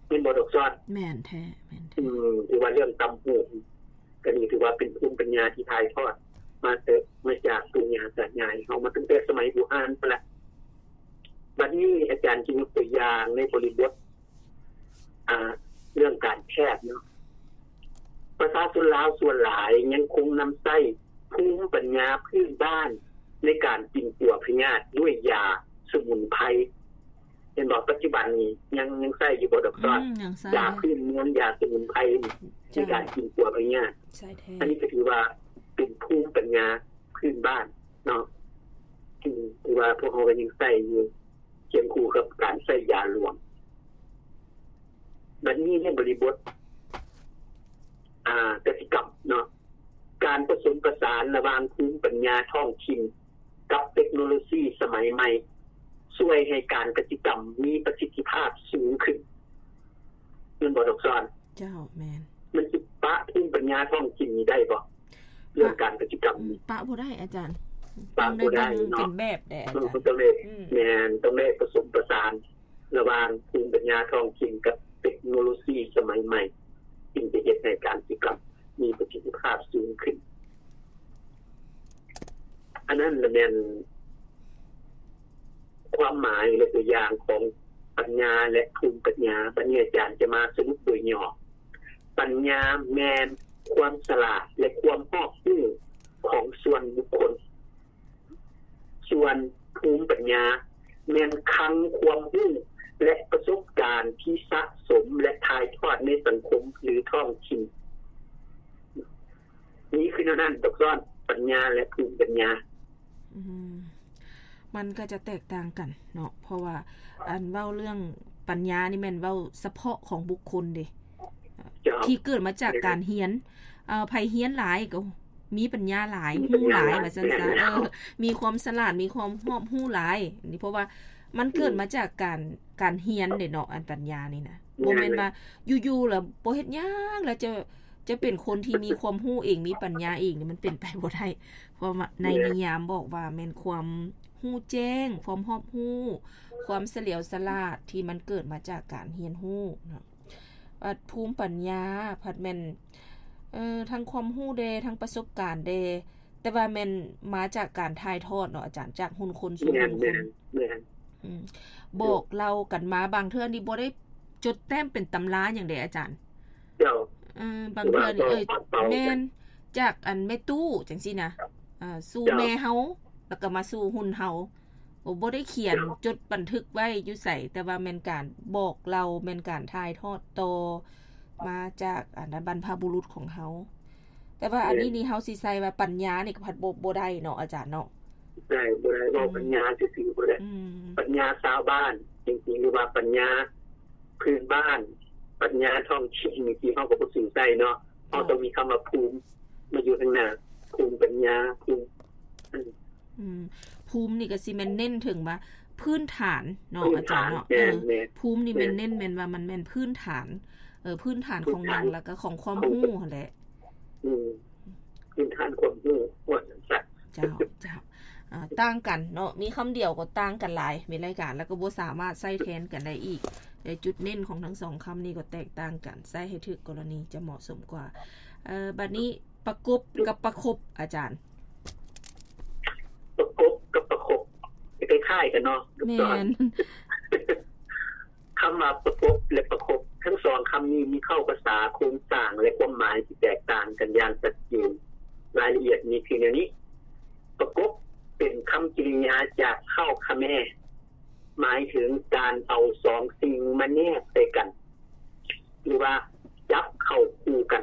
ແມ່ນບໍ່ດອກຊອນ? ແມ່ນແທ້ ແມ່ນແທ້. ອືມ ຖືວ່າເລື່ອງຕຳຫູກ ກໍນີ້ຖືວ່າເປັນພູມປັນຍາທີ່ຖ່າຍທອດມາແຕ່ ມາຈາກປູ່ຍ່າຕາຍາຍເຮົາມາຕັ້ງແຕ່ສະໄໝບູຮານພຸ້ນລະ. ບັດນີ້ອາຈານຈະຍົກຕົວຢ່າງໃນບໍລິບົດ ອ່າ ເລື່ອງການແພດເນາະ. ປະຊາຊົນລາວສ່ວນຫຼາຍຍັງຄົງນຳໃຊ້ພູມປັນຍາພື້ນບ້ານໃນການປິ່ນປົວພະຍາດດ້ວຍຢາສະໝຸນໄພ. ເຫັນບໍ່? ປັດຈຸບັນນີ້ຍັງ ຍັງໃຊ້ຢູ່ບໍ່ດອກຊອນ? ອືມ ຍັງໃຊ້ ຢາພື້ນເມືອງ ຢາສະໝຸນໄພນີ້ ໃນການປິ່ນປົວພະຍາດ. ໃຊ້ແທ້. ອັນນີ້ກໍຖືວ່າເປັນພູມປັນຍາພື້ນບ້ານເນາະ ທີ່ ທີ່ວ່າພວກເຮົາກໍຍັງໃຊ້ຢູ່ ຄຽງຄູ່ກັບການໃຊ້ຢາຫຼວງ. ບັດນີ້ໃນບໍລິບົດ ອ່າ ກະສິກຳເນາະ, ການປະສົມປະສານລະຫວ່າງພູມປັນຍາທ້ອງຖິ່ນ ກັບເຕັກໂນໂລຊີສະໄໝໃໝ່ ຊ່ວຍໃຫ້ການກະສິກຳມີປະສິດທິພາບສູງຂຶ້ນ ແມ່ນບໍ່ດອກຊອນ? ເຈົ້າ ແມ່ນ. ມັນຊິປະພູມປັນຍາທ້ອງຖິ່ນນີ້ໄດ້ບໍ່? ເລື່ອງການກະສິກຳນີ້ ປະບໍ່ໄດ້ອາຈານ. ປະບໍ່ໄດ້ເນາະ. ເປັນແບບແດ່ອາຈານ. ເອີ ມັນຕ້ອງໄດ້ ອືມ ແມ່ນ ຕ້ອງໄດ້ປະສົມປະສານ ລະຫວ່າງພູມປັນຍາທ້ອງຖິ່ນກັບເຕັກໂນໂລຊີສະໄໝໃໝ່ ຈຶ່ງຈະເຮັດໃຫ້ການກະສິກຳມີປະສິດທິພາບສູງຂຶ້ນ. ອັນນັ້ນລະແມ່ນຄວາມໝາຍ ແລະ ຕົວຢ່າງຂອງປັນຍາ ແລະ ພູມປັນຍາ. ບັດນີ້ອາຈານຈະມາສະຫຼຸບໂດຍຫຍໍ້. ປັນຍາແມ່ນຄວາມສະຫຼາດ ແລະ ຄວາມຮອບຮູ້ຂອງສ່ວນບຸກຄົນ. ສ່ວນພູມປັນຍາແມ່ນຄັງຄວາມຮູ້ ແລະ ປະສົບການທີ່ສະສົມ ແລະ ຖ່າຍທອດໃນສັງຄົມ ຫຼື ທ້ອງຖິ່ນ. ນີ້ຄືແນວນັ້ນ ດອກຊອນ, ປັນຍາ ແລະ ພູມປັນຍາ. ອືມ ມັນກໍຈະແຕກຕ່າງກັນເນາະ ເພາະວ່າ ອັນເວົ້າເລື່ອງປັນຍານີ້ແມ່ນເວົ້າສະເພາະຂອງບຸກຄົນເດ້ ເຈົ້າ ທີ່ເກີດມາຈາກການຮຽນ. ເອີ ໃຜຮຽນຫຼາຍກໍມີປັນຍາຫຼາຍ ມີປັນຍາຫຼາຍ ຮູ້ຫຼາຍ ວ່າຊັ້ນຊະ. ເອີ ມີຄວາມສະຫຼາດ ມີຄວາມຮອບຮູ້ຫຼາຍ. ອັນນີ້ເພາະວ່າມັນເກີດມາຈາກການ ການຮຽນເດ້ເນາະ ອັນປັນຍານີ້ນະ. ບໍ່ແມ່ນວ່າຢູ່ໆແລ້ວບໍ່ເຮັດຫຍັງ ແລ້ວຈະ ຈະເປັນຄົນທີ່ມີຄວາມຮູ້ເອງ ມີປັນຍາເອງນີ້ ມັນເປັນໄປບໍ່ໄດ້. ເພາະວ່າໃນນິຍາມບອກວ່າແມ່ນຄວາມຮູ້ແຈ້ງ ຄວາມຮອບຮູ້ ຄວາມສະຫຼຽວສະຫຼາດທີ່ມັນເກີດມາຈາກການຮຽນຮູ້ເນາະ. ບັດພູມປັນຍາພັດແມ່ນ ເອີ ທັງຄວາມຮູ້ແດ່ ທັງປະສົບການແດ່ ແຕ່ວ່າແມ່ນມາຈາກການຖ່າຍທອດເນາະອາຈານ ຈາກຮຸ່ນຄົນສູ່ຮຸ່ນຄົນ. ແມ່ນ ແມ່ນ ແມ່ນ. ອືມ ບອກເລົ່າກັນມາ ບາງເທື່ອນີ້ບໍ່ໄດ້ຈົດແຕ້ມເປັນຕຳລາຫຍັງເດ້ອາຈານ. ເຈົ້າ. ເອີ ບາງເທື່ອນີ້ ເອີ ແມ່ນ ຈາກອັນແມ່ຕູ້ຈັ່ງຊີ້ນະ ອ່າ ສູ່ແມ່ເຮົາ ແລ້ວກໍມາສູ່ຮຸ່ນເຮົາ. ບໍ່ ບໍ່ໄດ້ຂຽນ ເຈົ້າ ຈົດບັນທຶກໄວ້ຢູ່ໃສ ແຕ່ວ່າແມ່ນການບອກເລົ່າ ແມ່ນການຖ່າຍທອດຕໍ່ມາຈາກອັນນັ້ນ ບັນພະບຸລຸດຂອງເຮົາ. ແຕ່ວ່າອັນນີ້ນີ້ ເຮົາຊິໃສ່ວ່າປັນຍານີ້ກໍພັດບໍ່ ບໍ່ໄດ້ເນາະອາຈານເນາະ. ໄດ້ ບໍ່ໄດ້ ເວົ້າປັນຍາຊື່ໆບໍ່ໄດ້. ອືມ ປັນຍາຊາວບ້ານຈິງໆ ຫຼືວ່າປັນຍາພື້ນບ້ານ ປັນຍາທ້ອງຖິ່ນນີ້ ເຮົາກໍບໍ່ຖືໃສ່ເນາະ. ເຮົາຕ້ອງມີຄຳວ່າພູມມາຢູ່ທາງໜ້າ ພູມປັນຍາ ພູມ ອືມ ອືມ ພູມນີ້ກໍຊິແມ່ນເນັ້ນເຖິງວ່າພື້ນຖານເນາະ ອາຈານເນາະ. ເອີ ພູມນີ້ແມ່ນເນັ້ນ ແມ່ນວ່າມັນແມ່ນພື້ນຖານ ເອີ ພື້ນຖານຂອງຫຍັງ ແລ້ວກໍຂອງຄວາມຮູ້ຫັ້ນແຫຼະ. ອືມ ພື້ນຖານຄວາມຮູ້ວ່າຊັ້ນຊະ. ເຈົ້າ ເຈົ້າ. ເອີ ຕ່າງກັນເນາະ ມີຄຳດຽວກໍຕ່າງກັນຫຼາຍ ມີຫຼາຍການ ແລ້ວກໍບໍ່ສາມາດໃຊ້ແທນກັນໄດ້ອີກ. ແລະ ຈຸດເນັ້ນຂອງທັງສອງຄຳນີ້ກໍແຕກຕ່າງກັນ ໃຊ້ໃຫ້ຖືກກໍລະນີຈະເໝາະສົມກວ່າ. ເອີ ບັດນີ້ປະກົບກັບປະຄົບ ອາຈານ. ປະກົບກັບປະຄົບ ຄ້າຍໆກັນເນາະ. ແມ່ນ. ຄຳວ່າປະກົບ ແລະ ປະຄົບ ທັງສອງຄຳນີ້ມີເຄົ້າພາສາ, ໂຄງສ້າງ ແລະ ຄວາມໝາຍທີ່ແຕກຕ່າງກັນຢ່າງຊັດເຈນ. ລາຍລະອຽດມີຄືແນວນີ້. ປະກົບເປັນຄຳກິລິຍາຈາກເຄົ້າຂະແມ ໝາຍເຖິງການເອົາສອງສິ່ງມາແນບໃສ່ກັນ ຫຼືວ່າຈັບເຂົ້າຄູ່ກັນ.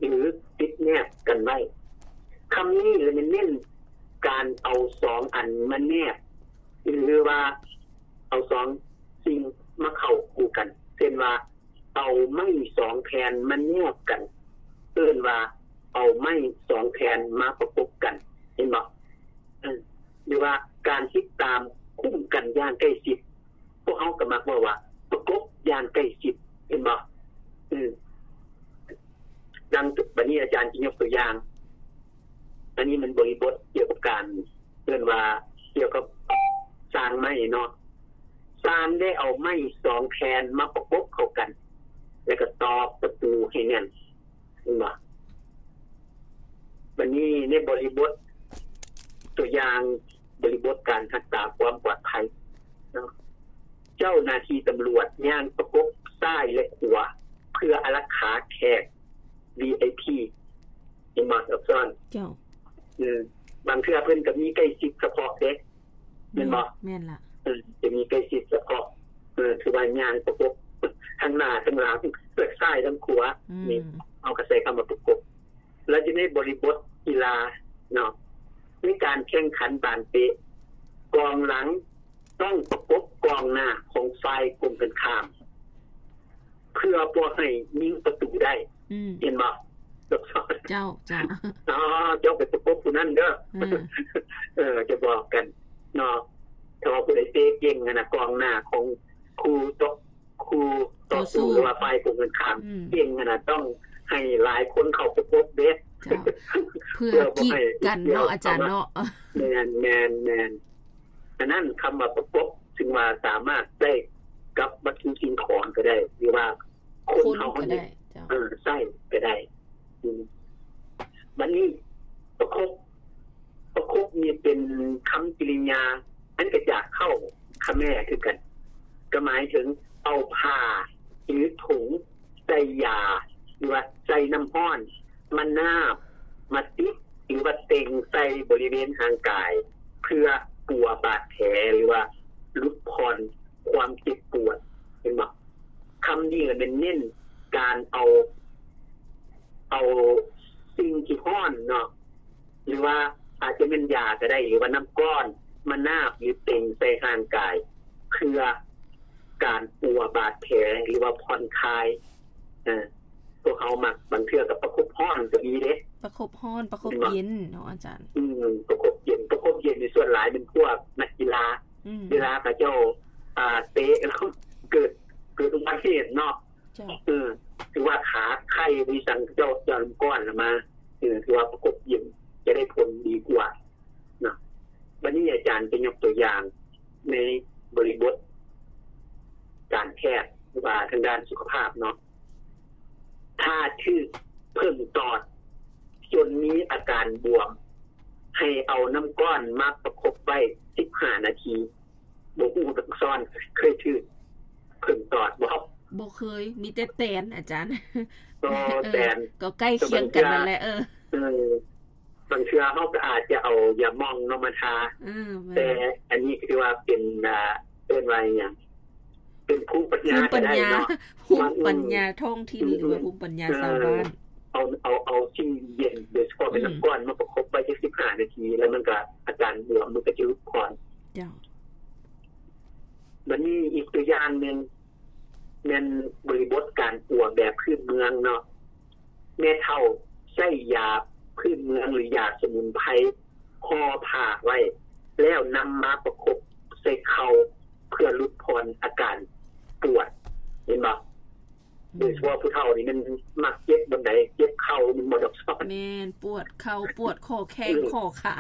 ຫຼືຕິດແນບກັນໄວ້. ຄຳນີ້ລະແມ່ນເນັ້ນການເອົາສອງອັນມາແນບ ຫຼືວ່າເອົາສອງສິ່ງມາເຂົ້າຄູ່ກັນ ເຊັ່ນວ່າ ເອົາໄມ້ສອງແຜ່ນມາແນບກັນ ເອີ້ນວ່າເອົາໄມ້ສອງແຜ່ນມາປະກົບກັນ ເຫັນບໍ່? ເອີ ຫຼືວ່າການຕິດຕາມຄຸ້ມກັນຢ່າງໃກ້ຊິດ ພວກເຮົາກໍມັກເວົ້າວ່າປະກົບຢ່າງໃກ້ຊິດ ເຫັນບໍ່? ອື ດັ່ງບັດນີ້ອາຈານຈະຍົກຕົວຢ່າງ ອັນນີ້ມັນບໍລິບົດກ່ຽວກັບການ ເອີ້ນວ່າກ່ຽວກັບຊ່າງໄມ້ເນາະ ຊ່າງໄດ້ເອົາໄມ້ສອງແຜ່ນມາປະກົບເຂົ້າກັນ ແລ້ວກໍຕອກປະຕູໃຫ້ແໜ້ນ ເຫັນບໍ່? ບັດນີ້ໃນບໍລິບົດ ຕົວຢ່າງ ບໍລິບົດການຮັກສາຄວາມປອດໄພເນາະ ເຈົ້າໜ້າທີ່ຕຳຫຼວດຍ່າງປະກົບຊ້າຍ ແລະ ຂວາ ເພື່ອອາລັກຂາແຂກ ວີໄອພີ ເຫັນບໍ່? ເຈົ້າ ອື ບາງເທື່ອເພິ່ນກໍມີໃກ້ຊິດສະເພາະເດ້ ແມ່ນບໍ່? ແມ່ນລະ ເອີ ຈະມີໃກ້ຊິດສະເພາະ ເອີ ຖືວ່າຍ່າງປະກົບທັງໜ້າທັງຫຼັງ ທັງຊ້າຍທັງຂວາ ອື ນີ້ ເຮົາກໍໃຊ້ຄຳວ່າປະກົບ. ແລ້ວຢູ່ໃນບໍລິບົດກິລາເນາະ ໃນການແຂ່ງຂັນບານເຕະ ກອງຫຼັງຕ້ອງປະກົບກອງໜ້າຂອງຝ່າຍກົງກັນຂ້າມ ເພື່ອບໍ່ໃຫ້ຍິງປະຕູໄດ້ ອື ເຫັນບໍ່? ເຈົ້າ ເຈົ້າ ອໍ ເຈົ້າໄປປະກົບຜູ້ນັ້ນເດີ ເອີ ເອີ ຈະບອກກັນເນາະ ຖ້າວ່າຜູ້ໃດເຕະເກັ່ງຫັ້ນນະ ກອງໜ້າຂອງຄູ່ຕໍ່ ຄູ່ຕໍ່ສູ້ ຕໍ່ສູ້ ຫຼືວ່າຝ່າຍກົງກັນຂ້າມ ອື ເກັ່ງຫັ້ນນະ ຕ້ອງໃຫ້ຫຼາຍຄົນເຂົ້າປະກົບເດ້ ເພື່ອ ເພື່ອບໍ່ໃຫ້ ກີດກັນເນາະ ອາຈານເນາະ ແມ່ນໆໆ ອັນນັ້ນຄຳວ່າປະກົບ ຊຶ່ງວ່າສາມາດໃຊ້ກັບວັດຖຸສິ່ງຂອງກໍໄດ້ ຫຼືວ່າຄົນເຮົາ ຄົນກໍໄດ້ ເຈົ້າ ເອີ ໃຊ້ກໍໄດ້ ອື ບັດນີ້ປະກົບ ປະກົບນີ້ເປັນຄຳກິລິຍາ ອັນກໍຈາກເຄົ້າຂະແມຄືກັນ ກໍໝາຍເຖິງເອົາຜ້າ ຫຼື ຖົງໃສ່ຢາ ຫຼືວ່າໃສ່ນ້ຳຮ້ອນ ມານາບ ມາຕິດ ຫຼືວ່າເຕັງໃສ່ບໍລິເວນຮ່າງກາຍ ເພື່ອປົວບາດແຜ ຫຼືວ່າຫຼຸດຜ່ອນຄວາມເຈັບປວດ ເຫັນບໍ່? ຄຳນີ້ລະແມ່ນເນັ້ນການເອົາ ເອົາສິ່ງທີ່ຮ້ອນເນາະ ຫຼືວ່າອາດຈະແມ່ນຢາກໍໄດ້ ຫຼືວ່ານ້ຳກ້ອນມານາບ ຫຼື ເຕັງໃສ່ຮ່າງກາຍ ເພື່ອການປົວບາດແຜ ຫຼືວ່າຜ່ອນຄາຍ ເອີ ພວກເຮົາມັກ ບາງເທື່ອກໍປະຄົບຮ້ອນກໍມີເດ້ ປະຄົບຮ້ອນ ປະຄົບເຢັນເນາະອາຈານ ອືມ ປະຄົບເຢັນ ປະຄົບເຢັນນີ້ສ່ວນຫຼາຍເປັນພວກນັກກິລາ ອືມ ເວລາເຂົາເຈົ້າ ອ່າ ເຕະແລ້ວເກີດ ເກີດອຸບັດຕິເຫດເນາະ ເຈົ້າ ເອີ ຖືວ່າຂາໄຄຫຼືຫຍັງ ເຂົາເຈົ້າຈະເອົານ້ຳກ້ອນລະມາ ເອີ ຖືວ່າປະກົບເຢັນຈະໄດ້ຜົນດີກວ່າເນາະ ບັດນີ້ອາຈານຈະຍົກຕົວຢ່າງໃນບໍລິບົດການແພດ ຫຼືວ່າທາງດ້ານສຸຂະພາບເນາະ ຖ້າຖືກເຜິ້ງຕອດຈົນມີອາການບວມ ໃຫ້ເອົານ້ຳກ້ອນມາປະຄົບໄວ້ສິບຫ້ານາທີ ບໍ່ຮູ້ທັງຊ້ອນ ເຄີຍຖືກເຜິ້ງຕອດບໍ່? ບໍ່ເຄີຍ ມີແຕ່ແຕນ ອາຈານ ກໍ ເອີ ແຕນ ກໍໃກ້ຄຽງກັນນັ້ນແຫຼະ ເອີ ເອີ ບາງເທື່ອເຮົາກໍອາດຈະເອົາຢາໝອງເນາະມາທາ ເອີ ແມ່ນ ແຕ່ອັນນີ້ກໍຖືວ່າເປັນ ອ່າ ເອີ້ນວ່າອີ່ຫຍັງ ເປັນພູມປັນຍາ ພູມປັນຍາ ກໍໄດ້ເນາະ ພູມປັນຍາ ອືມ ທ້ອງຖິ່ນ ອືມ ຫຼືວ່າພູມປັນຍາ ເອີ ຊາວບ້ານ ເອົາ ເອົາ ເອົາສິ່ງເຢັນ ໂດຍສະເພາະເປັນ ອືມ ນ້ຳກ້ອນມາປະຄົບໄວ້ຈັກສິບຫ້ານາທີ ແລ້ວມັນກໍອາການບວມມັນກໍຈະຫຼຸດຜ່ອນ ເຈົ້າ ບັດນີ້ອີກຕົວຢ່າງໜຶ່ງ ແມ່ນບໍລິບົດການປົວແບບພື້ນເມືອງເນາະ ແມ່ເຖົ້າໃຊ້ຢາພື້ນເມືອງ ຫຼື ຢາສະໝຸນໄພຫໍ່ຜ້າໄວ້ ແລ້ວນຳມາປະຄົບໃສ່ເຂົ່າ ເພື່ອຫຼຸດຜ່ອນອາການປວດ ເຫັນບໍ່? ອືມ ໂດຍສະເພາະຜູ້ເຖົ້ານີ້ມັນມັກເຈັບບ່ອນໃດ ເຈັບເຂົ່າແມ່ນບໍ່ດອກ? ແມ່ນ ປວດເຂົ່າ ປວດຂໍ້ແຂ້ງ ອືມ ຂໍ້ຂາ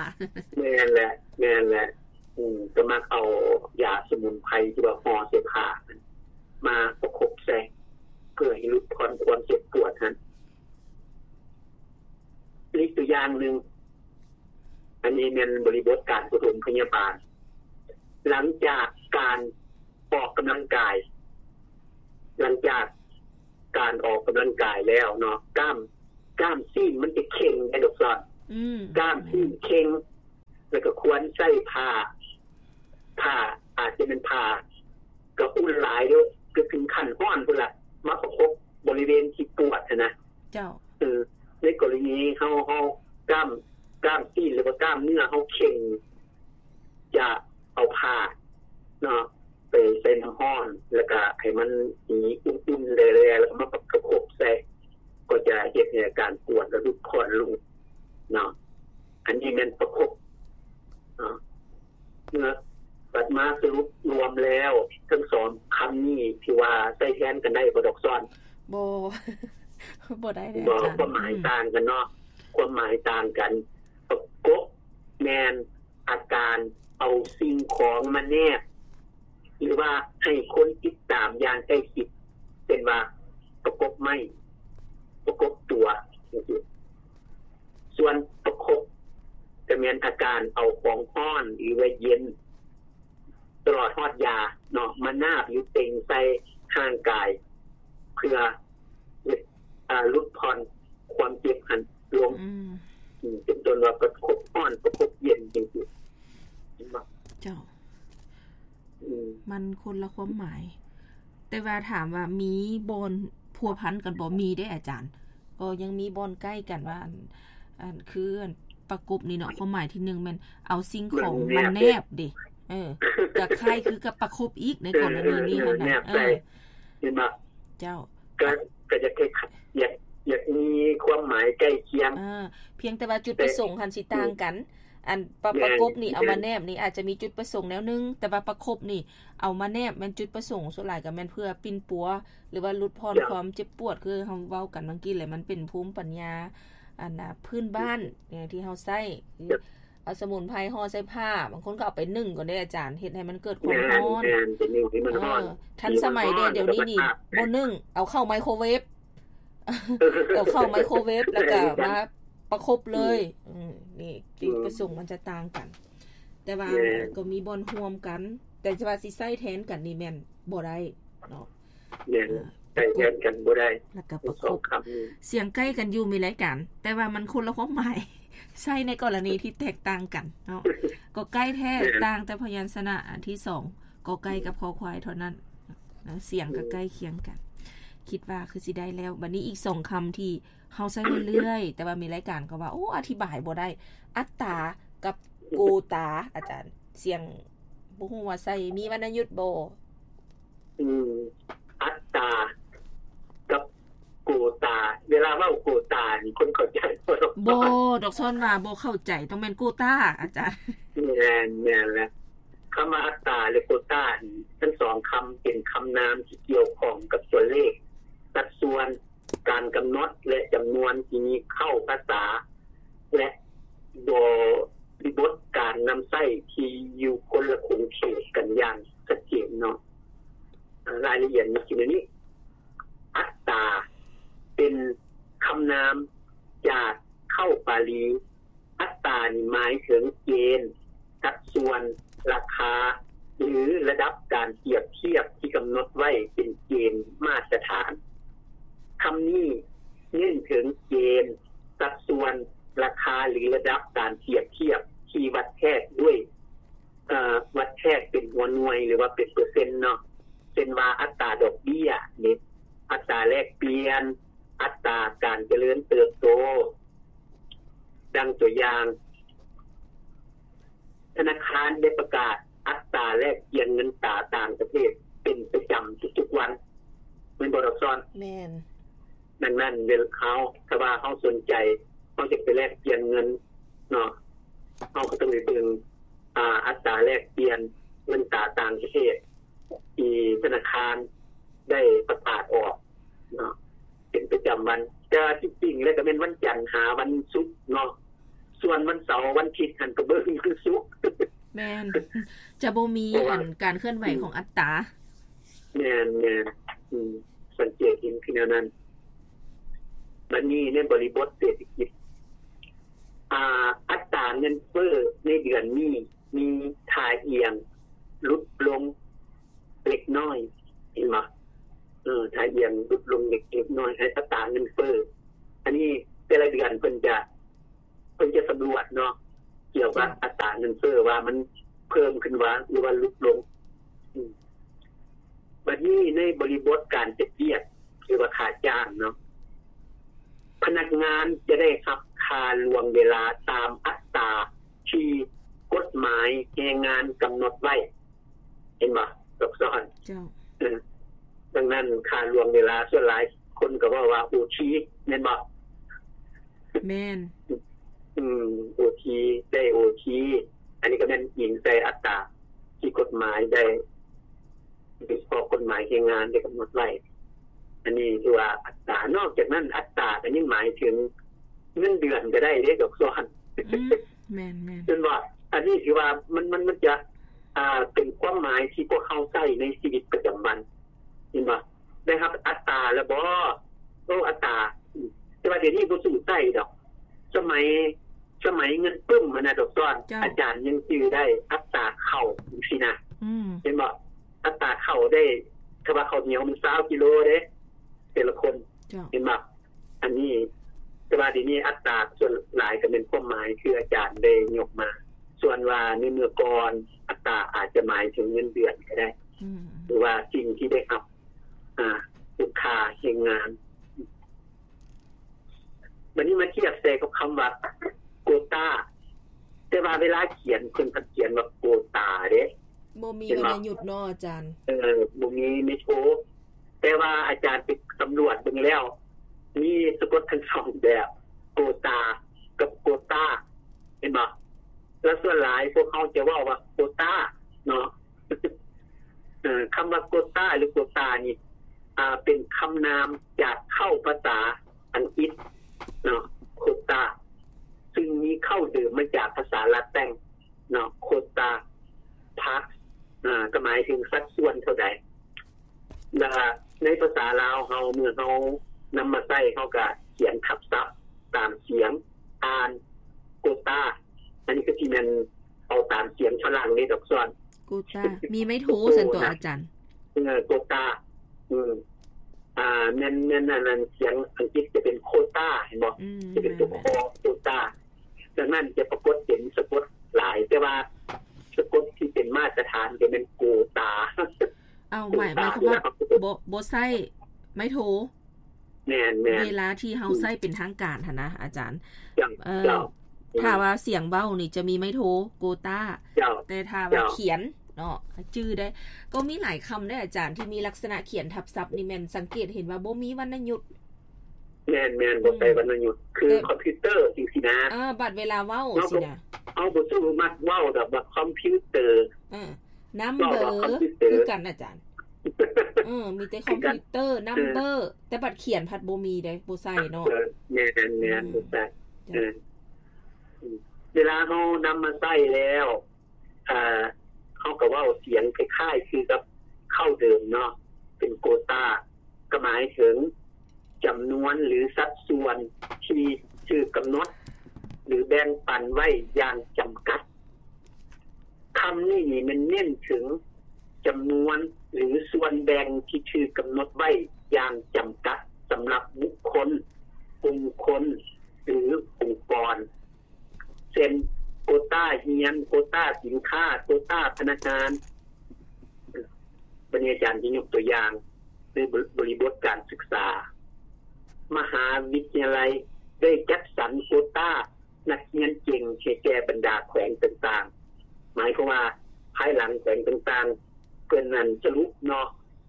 ແມ່ນແຫຼະ ແມ່ນແຫຼະ ອືມ ກໍມັກເອົາຢາສະໝຸນໄພທີ່ວ່າຫໍ່ໃສ່ຜ້ານັ້ນ ມາປະຄົບໃສ່ ເພື່ອໃຫ້ຫຼຸດຜ່ອນຄວາມເຈັບປວດຫັ້ນ. ອີກຕົວຢ່າງໜຶ່ງ ອັນນີ້ແມ່ນບໍລິບົດການປະຖົມພະຍາບານ ຫຼັງຈາກການອອກກຳລັງກາຍ ຫຼັງຈາກການອອກກຳລັງກາຍແລ້ວເນາະ ກ້າມ ກ້າມຊີ້ນມັນຈະເຄັ່ງໄດ໋ ອືມ ກ້າມຊີ້ນເຄັ່ງ ແລ້ວກໍຄວນໃຊ້ຜ້າ ຜ້າ ອາດຈະແມ່ນຜ້າກະອຸ່ນຫຼາຍເດີ້ ກໍເຖິງຂັ້ນຮ້ອນພຸ້ນລະ ມາປະຄົບບໍລິເວນທີ່ປວດຫັ້ນນະ ເຈົ້າ ເອີ ໃນກໍລະນີເຮົາ ເຮົາກ້າມ ກ້າມຕີນ ຫຼືວ່າກ້າມເນື້ອເຮົາເຄັ່ງ ຈະເອົາຜ້າເນາະ ໄປໃສ່ນ້ຳຮ້ອນ ແລ້ວກະໃຫ້ມັນສີອຸ່ນໆແຫຼະໆ ແລ້ວກະມາປະຄົບໃສ່ ກໍຈະເຮັດໃຫ້ອາການປວດ ແລະຫຼຸດຜ່ອນລົງເນາະ. ອັນນີ້ແມ່ນປະຄົບເນາະ. ເມື່ອ ບັດມາສະຫຼຸບລວມແລ້ວ ທັງສອງຄຳນີ້ ຖືວ່າໃຊ້ແທນກັນໄດ້ບໍ່ ດອກຊອນ? ບໍ່ ບໍ່ໄດ້ເລີຍ ບໍ່ ອາຈານ. ຄວາມໝາຍ ອືມ ຕ່າງກັນເນາະ ຄວາມໝາຍຕ່າງກັນ. ປະກົບແມ່ນອາການເອົາສິ່ງຂອງມາແນບ ຫຼືວ່າໃຫ້ຄົນຕິດຕາມຢ່າງໃກ້ຊິດ ເຊັ່ນວ່າປະກົບໄມ້ ປະກົບຕົວ ຈັ່ງຊີ້. ສ່ວນປະຄົບ ກະແມ່ນອາການເອົາຂອງຮ້ອນ ຫຼືວ່າເຢັນ ຕະຫຼອດຮອດຢາເນາະ ມານາບ ຫຼື ເຕັງໃສ່ຮ່າງກາຍ ເພື່ອເຮັດ ອາ ຫຼຸດຜ່ອນຄວາມເຈັບຫັ້ນລົງ. ອືມ ອືມ ເປັນຕົ້ນວ່າປະຄົບຮ້ອນ ປະຄົບເຢັນ ຈັ່ງຊີ້ ເຫັນບໍ່? ເຈົ້າ. ອືມ ມັນຄົນລະຄວາມໝາຍ ແຕ່ວ່າຖາມວ່າມີບ່ອນພົວພັນກັນບໍ່? ມີເດ້ອາຈານ ກໍຍັງມີບ່ອນໃກ້ກັນວ່າ ອັນ ອັນ ຄື ອັນ ປະກົບນີ້ເນາະ ຄວາມໝາຍທີໜຶ່ງແມ່ນເອົາສິ່ງຂອງມາແນບເດ້. ເອີ ກະຄ້າຍຄືກັບປະຄົບອີກໃນກໍລະນີນີ້ຫັ້ນນະ. ເອີ ເຫັນບໍ່? ເຈົ້າ. ກະ ກະຢາກໃຫ້ ຢາກ ຢາກມີຄວາມໝາຍໃກ້ຄຽງ. ເອີ ພຽງແຕ່ວ່າຈຸດປະສົງຫັ້ນຊິຕ່າງກັນ. ອັນປະ ປະກົບນີ້ເອົາມາແນບນີ້ອາດຈະມີຈຸດປະສົງແນວໜຶ່ງ ແຕ່ວ່າປະຄົບນີ້ເອົາມາແນບແມ່ນຈຸດປະສົງສ່ວນຫຼາຍກະແມ່ນເພື່ອປິ່ນປົວ ຫຼືວ່າຫຼຸດຜ່ອນຄວາມເຈັບປວດ ຄືເຮົາເວົ້າກັນເມື່ອກີ້ແຫຼະ ມັນເປັນພູມປັນຍາ ອັນນະ ພື້ນບ້ານທີ່ເຮົາໃຊ້ ເອົາສະໝຸນໄພຫໍ່ໃສ່ຜ້າ ບາງຄົນກໍເອົາໄປໜຶ້ງກ່ອນເດ້ອາຈານ ເຮັດໃຫ້ມັນເກີດຄວາມຮ້ອນ. ເອີ ທັນສະໄໝແດ່ ດຽວນີ້ນີ້ບໍ່ໜຶ້ງ ເອົາເຂົ້າໄມໂຄເວຟ ເອົາເຂົ້າໄມໂຄເວຟ ແລ້ວກໍມາປະຄົບເລີຍ. ອືມ ນີ້ຈຸດປະສົງມັນຈະຕ່າງກັນ ແຕ່ວ່າກໍມີບ່ອນຮ່ວມກັນ ແຕ່ວ່າຊິໃຊ້ແທນກັນນີ້ແມ່ນບໍ່ໄດ້ເນາະ. ແມ່ນ ໃຊ້ແທນກັນບໍ່ໄດ້ ແລ້ວກໍປະຄົບ ສຽງໃກ້ກັນຢູ່ ມີລາຍການ ແຕ່ວ່າມັນຄົນລະຄວາມໝາຍ ໃຊ້ໃນກໍລະນີທີ່ແຕກຕ່າງກັນເນາະ. ກໍໃກ້ແທ້ ຕ່າງແຕ່ພະຍັນຊະນະອັນທີສອງ ກໍໄກ່ກັບຄໍຄວາຍເທົ່ານັ້ນ ສຽງກໍໃກ້ຄຽງກັນ. ຄິດວ່າຄືຊິໄດ້ແລ້ວ. ບັດນີ້ອີກສອງຄຳທີ່ເຮົາໃຊ້ເລື້ອຍໆ ແຕ່ວ່າມີລາຍການກໍວ່າ ໂອ້ ອະທິບາຍບໍ່ໄດ້ ອັດຕາກັບໂກຕາ. ອາຈານ ສຽງ ບໍ່ຮູ້ວ່າໃຊ້ມີວັນນະຍຸດບໍ່? ອືມ ອັດຕາກັບໂກຕາ ເວລາເວົ້າໂກຕານີ້ຄົນເຂົ້າໃຈບໍ່? ບໍ່ ດອກຊອນວ່າບໍ່ເຂົ້າໃຈ ຕ້ອງແມ່ນໂກຕາ ອາຈານ. ແມ່ນ ແມ່ນແຫຼະ. ຄຳວ່າອັດຕາ ແລະ ໂກຕານີ້ ທັງສອງຄຳເປັນຄຳນາມທີ່ກ່ຽວຂ້ອງກັບຕົວເລກ, ສັດສ່ວນ, ການກຳນົດ ແລະ ຈຳນວນທີ່ມີເຂົ້າພາສາ ແລະ ບໍລິບົດການນຳໃຊ້ທີ່ຢູ່ຄົນລະຂົງເຂດກັນຢ່າງຊັດເຈນເນາະ. ລາຍລະອຽດມີຢູ່ໃນນີ້. ອັດຕາ ເປັນຄຳນາມຈາກເຄົ້າປາລີ. ອັດຕານີ້ໝາຍເຖິງເກນ, ສັດສ່ວນ, ລາຄາ ຫຼື ລະດັບການປຽບທຽບທີ່ກຳນົດໄວ້ເປັນເກນມາດຕະຖານ. ຄຳນີ້ເນັ້ນເຖິງເກນ, ສັດສ່ວນ, ລາຄາ ຫຼື ລະດັບການປຽບທຽບທີ່ວັດແທກດ້ວຍ ເອີ ວັດແທກເປັນຫົວໜ່ວຍ ຫຼືວ່າເປັນເປີເຊັນເນາະ, ເຊັ່ນວ່າ ອັດຕາດອກເບ້ຍເດ ອັດຕາແລກປ່ຽນ, ອັດຕາການຈະເລີນເຕີບໂຕ. ດັ່ງຕົວຢ່າງ, ທະນາຄານໄດ້ປະກາດອັດຕາແລກປ່ຽນເງິນຕາຕ່າງປະເທດເປັນປະຈຳທຸກໆວັນ ແມ່ນບໍ່ ດອກຊອນ? ແມ່ນ. ດັ່ງນັ້ນ ເວລາເຮົາ ຖ້າວ່າເຮົາສົນໃຈ ເຮົາຢາກໄປແລກປ່ຽນເງິນເນາະ, ເຮົາກໍຕ້ອງໄດ້ເບິ່ງ ອາ ອັດຕາແລກປ່ຽນເງິນຕາຕ່າງປະເທດ ທີ່ທະນາຄານໄດ້ປະກາດອອກເນາະ ເປັນປະຈຳວັນ. ແຕ່ວ່າທີ່ຈິງແລ້ວກໍແມ່ນວັນຈັນຫາວັນສຸກເນາະ, ສ່ວນວັນເສົາວັນທິດຫັ້ນກໍເບິ່ງວັນສຸກ. ແມ່ນ ຈະບໍ່ມີ ເພາະວ່າ ອັນ ການເຄື່ອນໄຫວ ອືມ ຂອງອັດຕາ. ແມ່ນໆ ອືມ ສັງເກດເຫັນຄືແນວນັ້ນ. ບັດນີ້ໃນບໍລິບົດເສດຖະກິດ ອາ ອັດຕາເງິນເຟີ້ໃນເດືອນນີ້ມີທ່າອ່ຽງຫຼຸດລົງເລັກນ້ອຍ ເຫັນບໍ່? ເອີ ທ່າອ່ຽງຫຼຸດລົງເລັກ ເລັກນ້ອຍ ໃນອັດຕາເງິນເຟີ້. ອັນນີ້ແຕ່ລະເດືອນເພິ່ນຈະ ເພິ່ນຈະສຳຫຼວດເນາະ ກ່ຽວກັບ ເຈົ້າ ອັດຕາເງິນເຟີ້ວ່າມັນເພີ່ມຂຶ້ນວ່າ ຫຼືວ່າຫຼຸດລົງ. ອືມ ບັດນີ້ໃນບໍລິບົດການເຮັດວຽກ ຫຼືວ່າຄ່າຈ້າງເນາະ, ພະນັກງານຈະໄດ້ຮັບຄ່າລ່ວງເວລາຕາມອັດຕາທີ່ກົດໝາຍແຮງງານກຳນົດໄວ້. ເຫັນບໍ່? ຊັບຊ້ອນ. ເຈົ້າ. ເອີ ດັ່ງນັ້ນ ຄ່າລ່ວງເວລາ ສ່ວນຫຼາຍຄົນກໍເວົ້າວ່າໂອທີ ແມ່ນບໍ່? ແມ່ນ. ອືມ ໂອທີ ໄດ້ໂອທີ ອັນນີ້ກໍແມ່ນອີງໃສ່ອັດຕາທີ່ກົດໝາຍໄດ້ ໂດຍສະເພາະກົດໝາຍແຮງງານໄດ້ກຳນົດໄວ້. ອັນນີ້ຖືວ່າອັດຕາ. ນອກຈາກນັ້ນ ອັດຕາກໍຍັງໝາຍເຖິງເງິນເດືອນກໍໄດ້ເດ້ ດອກຊອນ. ອືມ ແມ່ນໆ. ເຫັນບໍ່? ອັນນີ້ຖືວ່າມັນ ມັນ ມັນຈະ ອ່າ ເປັນຄວາມໝາຍທີ່ພວກເຮົາໃຊ້ໃນຊີວິດປະຈຳວັນ. ເຫັນບໍ່? ໄດ້ຮັບອັດຕາແລ້ວບໍ່? ໂອ້ ອັດຕາ. ແຕ່ວ່າດຽວນີ້ບໍ່ສູ່ໃຊ້ດອກ. ສະໄໝ ສະໄໝເງິນປຶ້ມຫັ້ນນະ ດອກຊອນ. ເຈົ້າ. ອາຈານຍັງຈື່ໄດ້ ອັດຕາເຂົ້າຈັ່ງຊີ້ນະ. ອືມ. ເຫັນບໍ່? ອັດຕາເຂົ້າໄດ້ ຖ້າວ່າເຂົ້າໜຽວມັນຊາວກິໂລເດ້ ແຕ່ລະຄົນ. ເຈົ້າ. ເຫັນບໍ່? ອັນນີ້ ແຕ່ວ່າດຽວນີ້ອັດຕາສ່ວນຫຼາຍກໍແມ່ນຄວາມໝາຍຄືອາຈານໄດ້ຍົກມາ. ສ່ວນວ່າໃນເມື່ອກ່ອນ ອັດຕາອາດຈະໝາຍເຖິງເງິນເດືອນກໍໄດ້ ອືມ ຫຼືວ່າສິ່ງທີ່ໄດ້ຮັບ ອ່າ ເປັນຄ່າແຮງງານ. ບັດນີ້ມາທຽບໃສ່ກັບຄຳວ່າໂກຕາ ແຕ່ວ່າເວລາຂຽນເພິ່ນພັດຂຽນວ່າໂກຕາເດ້. ບໍ່ມີວັນນະຍຸດເນາະອາຈານ. ເອີ ບໍ່ມີໄມໂທ. ແຕ່ວ່າອາຈານໄປສຳຫຼວດເບິ່ງແລ້ວ ມີສະກົດທັງສອງແບບ ໂກຕາກັບໂກຕາ ເຫັນບໍ່? ແລ້ວສ່ວນຫຼາຍພວກເຮົາຈະເວົ້າວ່າໂກຕາເນາະ. ເອີ ຄຳວ່າໂກຕາ ຫຼື ໂກຕານີ້ ອ່າ ເປັນຄຳນາມຈາກເຄົ້າພາສາອັງກິດເນາະ ໂຄຕາ ຊຶ່ງມີເຄົ້າເດີມມາຈາກພາສາລາແຕັງເນາະ ໂຄຕາ ພາສ ອ່າ ກໍໝາຍເຖິງສັດສ່ວນເທົ່າໃດ. ແລ້ວໃນພາສາລາວເຮົາ ເມື່ອເຮົານຳມາໃຊ້ ເຮົາກໍຂຽນທັບສັບຕາມສຽງ ອ່ານ ໂກຕາ. ອັນນີ້ກໍຊິແມ່ນເອົາຕາມສຽງຝຣັ່ງເດ້ ດອກຊອນ. ໂກຕາ ມີໄມໂທຊັ້ນຕົວອາຈານ. ເອີ ໂກຕາ. ອືມ ອ່າ ແມ່ນ ແມ່ນ ອັນນັ້ນ ສຽງອັງກິດຈະເປັນໂຄຕາ ເຫັນບໍ່? ອືມ ຈະເປັນຕົວ ແມ່ນໆ ຄໍ ໂຄຕາ. ດັ່ງນັ້ນຈະປາກົດເປັນສະກົດຫຼາຍ ແຕ່ວ່າສະກົດທີ່ເປັນມາດຕະຖານຈະແມ່ນໂກຕາ. ເອົາ ໝາຍ ໂກຕາ ໝາຍຄວາມວ່າ ເວລາເຮົາ ບໍ່ ບໍ່ໃຊ້ໄມໂທ. ແມ່ນໆ ເວລາທີ່ເຮົາໃຊ້ເປັນທາງການຫັ້ນນະອາຈານ. ເຈົ້າ ເອີ ເຈົ້າ. ຖ້າວ່າສຽງເວົ້ານີ້ຈະມີໄມໂທ ໂກຕາ. ເຈົ້າ. ແຕ່ຖ້າວ່າ ເຈົ້າ ຂຽນເນາະ ຈື່ໄດ້. ກໍມີຫຼາຍຄຳເດ້ອາຈານ ທີ່ມີລັກສະນະຂຽນທັບສັບນີ້ ແມ່ນສັງເກດເຫັນວ່າບໍ່ມີວັນນະຍຸດ. ແມ່ນໆ ບໍ່ໃສ່ວັນນະຍຸດ ຄືຄອມພິວເຕີຈັ່ງຊີ້ນະ. ເອີ ບັດເວລາເວົ້າຊີ້ນະ ເຮົາບໍ່ສາມາດເວົ້າດອກວ່າຄອມພິວເຕີ. ເອີ ນຳເບີ ຄືກັນອາຈານ. ເອີ ມີແຕ່ຄອມພິວເຕີ ນຳເບີ ແຕ່ບັດຂຽນພັດບໍ່ມີເດ້ ບໍ່ໃສ່ເນາະ. ເອີ ແມ່ນໆ ບໍ່ໃສ່. ເອີ ເວລາເຮົານຳມາໃຊ້ແລ້ວ ອ່າ ເຮົາກໍເວົ້າສຽງຄ້າຍໆຄືກັບເຄົ້າເດີມເນາະ ເປັນໂກຕາ ກໍໝາຍເຖິງຈຳນວນ ຫຼື ສັດສ່ວນທີ່ຖືກກຳນົດ ຫຼື ແບ່ງປັນໄວ້ຢ່າງຈຳກັດ. ຄຳນີ້ນີ້ແມ່ນເນັ້ນເຖິງຈຳນວນ ຫຼື ສ່ວນແບ່ງທີ່ຖືກກຳນົດໄວ້ຢ່າງຈຳກັດສຳລັບບຸກຄົນ, ກຸ່ມຄົນ ຫຼື ອົງກອນ. ເຊັ່ນ ໂກຕາຮຽນ, ໂກຕາສິນຄ້າ, ໂກຕາພະນັກງານ. ບັດນີ້ອາຈານຈະຍົກຕົວຢ່າງໃນບໍ ບໍລິບົດການສຶກສາ. ມະຫາວິທະຍາໄລໄດ້ຈັດສັນໂກຕານັກຮຽນເກັ່ງໃຫ້ແກ່ບັນດາແຂວງຕ່າງໆ. ໝາຍຄວາມວ່າພາຍຫຼັງແຂວງຕ່າງໆ ເພິ່ນນັ້ນສະຫຼຸບເນາະ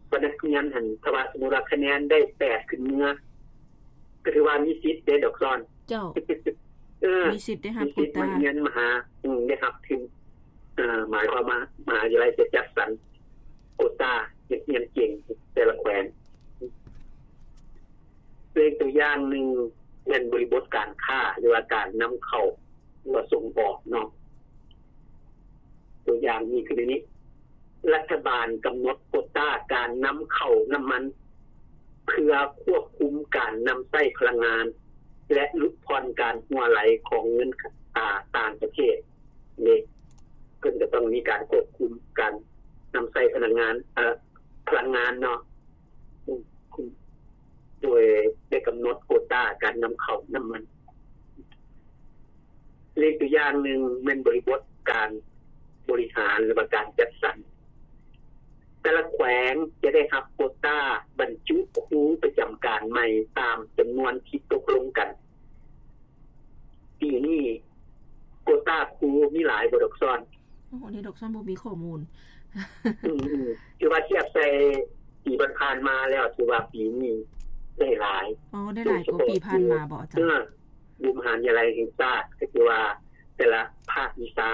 ວ່ານັກຮຽນຫັ້ນ ຖ້າວ່າສົມມຸດວ່າຄະແນນໄດ້ແປດຂຶ້ນເມືອ ກໍຖືວ່າມີສິດເດ້ດອກຊອນ. ເຈົ້າ ເອີ ມີສິດໄດ້ຮັບໂກຕາ ມີສິດມາຮຽນມະຫາ ອືມ ໄດ້ຮັບທຶນ. ເອີ ໝາຍຄວາມວ່າມະຫາວິທະຍາໄລຈະຈັດສັນໂກຕາເດັກຮຽນເກັ່ງແຕ່ລະແຂວງ. ເປັນຕົວຢ່າງໜຶ່ງແມ່ນບໍລິບົດການຄ້າ ຫຼືວ່າການນຳເຂົ້າ ຫຼືວ່າສົ່ງອອກເນາະ. ຕົວຢ່າງມີຄືໃນນີ້ ລັດຖະບານກຳນົດໂກຕາການນຳເຂົ້ານ້ຳມັນ ເພື່ອຄວບຄຸມການນຳໃຊ້ພະລັງງານ ແລະ ຫຼຸດຜ່ອນການຮົ່ວໄຫຼຂອງເງິນ ອາ ຕ່າງປະເທດເດ. ເພິ່ນກໍຕ້ອງມີການຄວບຄຸມການນຳໃຊ້ພະລັງງານ ເອີ ພະລັງງານເນາະ ໂດຍໄດ້ກຳນົດໂກຕາການນຳເຂົ້ານ້ຳມັນ. ເລກຕົວຢ່າງໜຶ່ງແມ່ນບໍລິບົດການບໍລິຫານ ຫຼືວ່າການຈັດສັນ. ແຕ່ລະແຂວ ວງຈະໄດ້ຮັບໂຄຕາບັນຈຸຄູປະຈຳການໃໝ່ຕາມຈຳນວນທີ່ຕົກລົງກັນ. ປີນີ້ໂຄຕາຄູມີຫຼາຍບໍ່ດອກຊອນ? ໂອ້ ອັນນີ້ດອກຊອນບໍ່ມີຂໍ້ມູນ. ອືມໆ ຖືວ່າທຽບໃສ່ປີຜ່ານໆມາແລ້ວ ຖືວ່າປີນີ້ໄດ້ຫຼາຍ. ອໍ ໄດ້ຫຼາຍກວ່າປີຜ່ານມາບໍ່ອາຈານ? ເອີ ຢູ່ມະຫາວິທະຍາໄລແຫ່ງຊາດ ກໍຄືວ່າແຕ່ລະພາກວິຊາ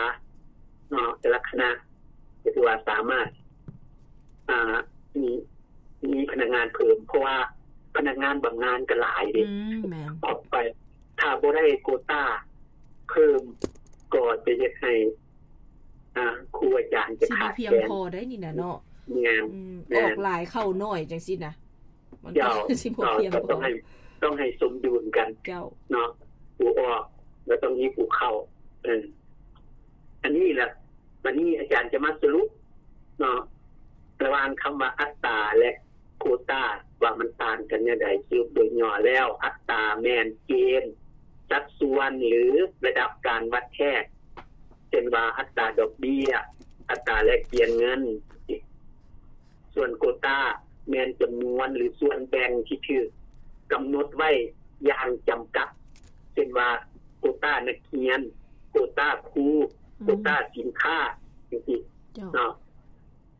ເນາະ ແຕ່ລະຄະນະ ກໍຖືວ່າສາມາດ ອ່າ ມີ ມີພະນັກງານເພີ່ມ ເພາະວ່າພະນັກງານບຳນານກໍຫຼາຍເດ້. ອືມ ແມ່ນ. ອອກໄປ ຖ້າບໍ່ໄດ້ໂຄຕາເພີ່ມ ກໍຈະເຮັດໃຫ້ ອ່າ ຄູອາຈານຈະຂາດແຄນ ຊິບໍ່ພຽງພໍໄດ້ນີ້ນະເນາະ. ແມ່ນ. ອືມ ແມ່ນ. ອອກຫຼາຍເຂົ້າໜ້ອຍຈັ່ງຊີ້ນະ ມັນກໍ ເຈົ້າ ຊິບໍ່ພຽງພໍ. ເຈົ້າ ຕ້ອງໃຫ້ ຕ້ອງໃຫ້ສົມດຸນກັນ. ເຈົ້າ. ເນາະ ຜູ້ອອກ ແລ້ວຕ້ອງມີຜູ້ເຂົ້າ. ເອີ ອັນນີ້ລະ ບັດນີ້ອາຈານຈະມາສະຫຼຸບເນາະ ລະຫວ່າງຄຳວ່າອັດຕາ ແລະ ໂຄຕາ ວ່າມັນຕ່າງກັນແນວໃດ. ສະຫຼຸບໂດຍຫຍໍ້ແລ້ວ ອັດຕາແມ່ນເກນ, ສັດສ່ວນ ຫຼື ລະດັບການວັດແທກ ເຊັ່ນວ່າ ອັດຕາດອກເບ້ຍ, ອັດຕາແລກປ່ຽນເງິນ. ສ່ວນໂຄຕາແມ່ນຈຳນວນ ຫຼື ສ່ວນແບ່ງທີ່ຖືກກຳນົດໄວ້ຢ່າງຈຳກັດ ເຊັ່ນວ່າ ໂຄຕານັກຮຽນ, ໂຄຕາຄູ, ອືມ ໂຄຕາສິນຄ້າ ຈັ່ງຊີ້ ເຈົ້າ ເນາະ.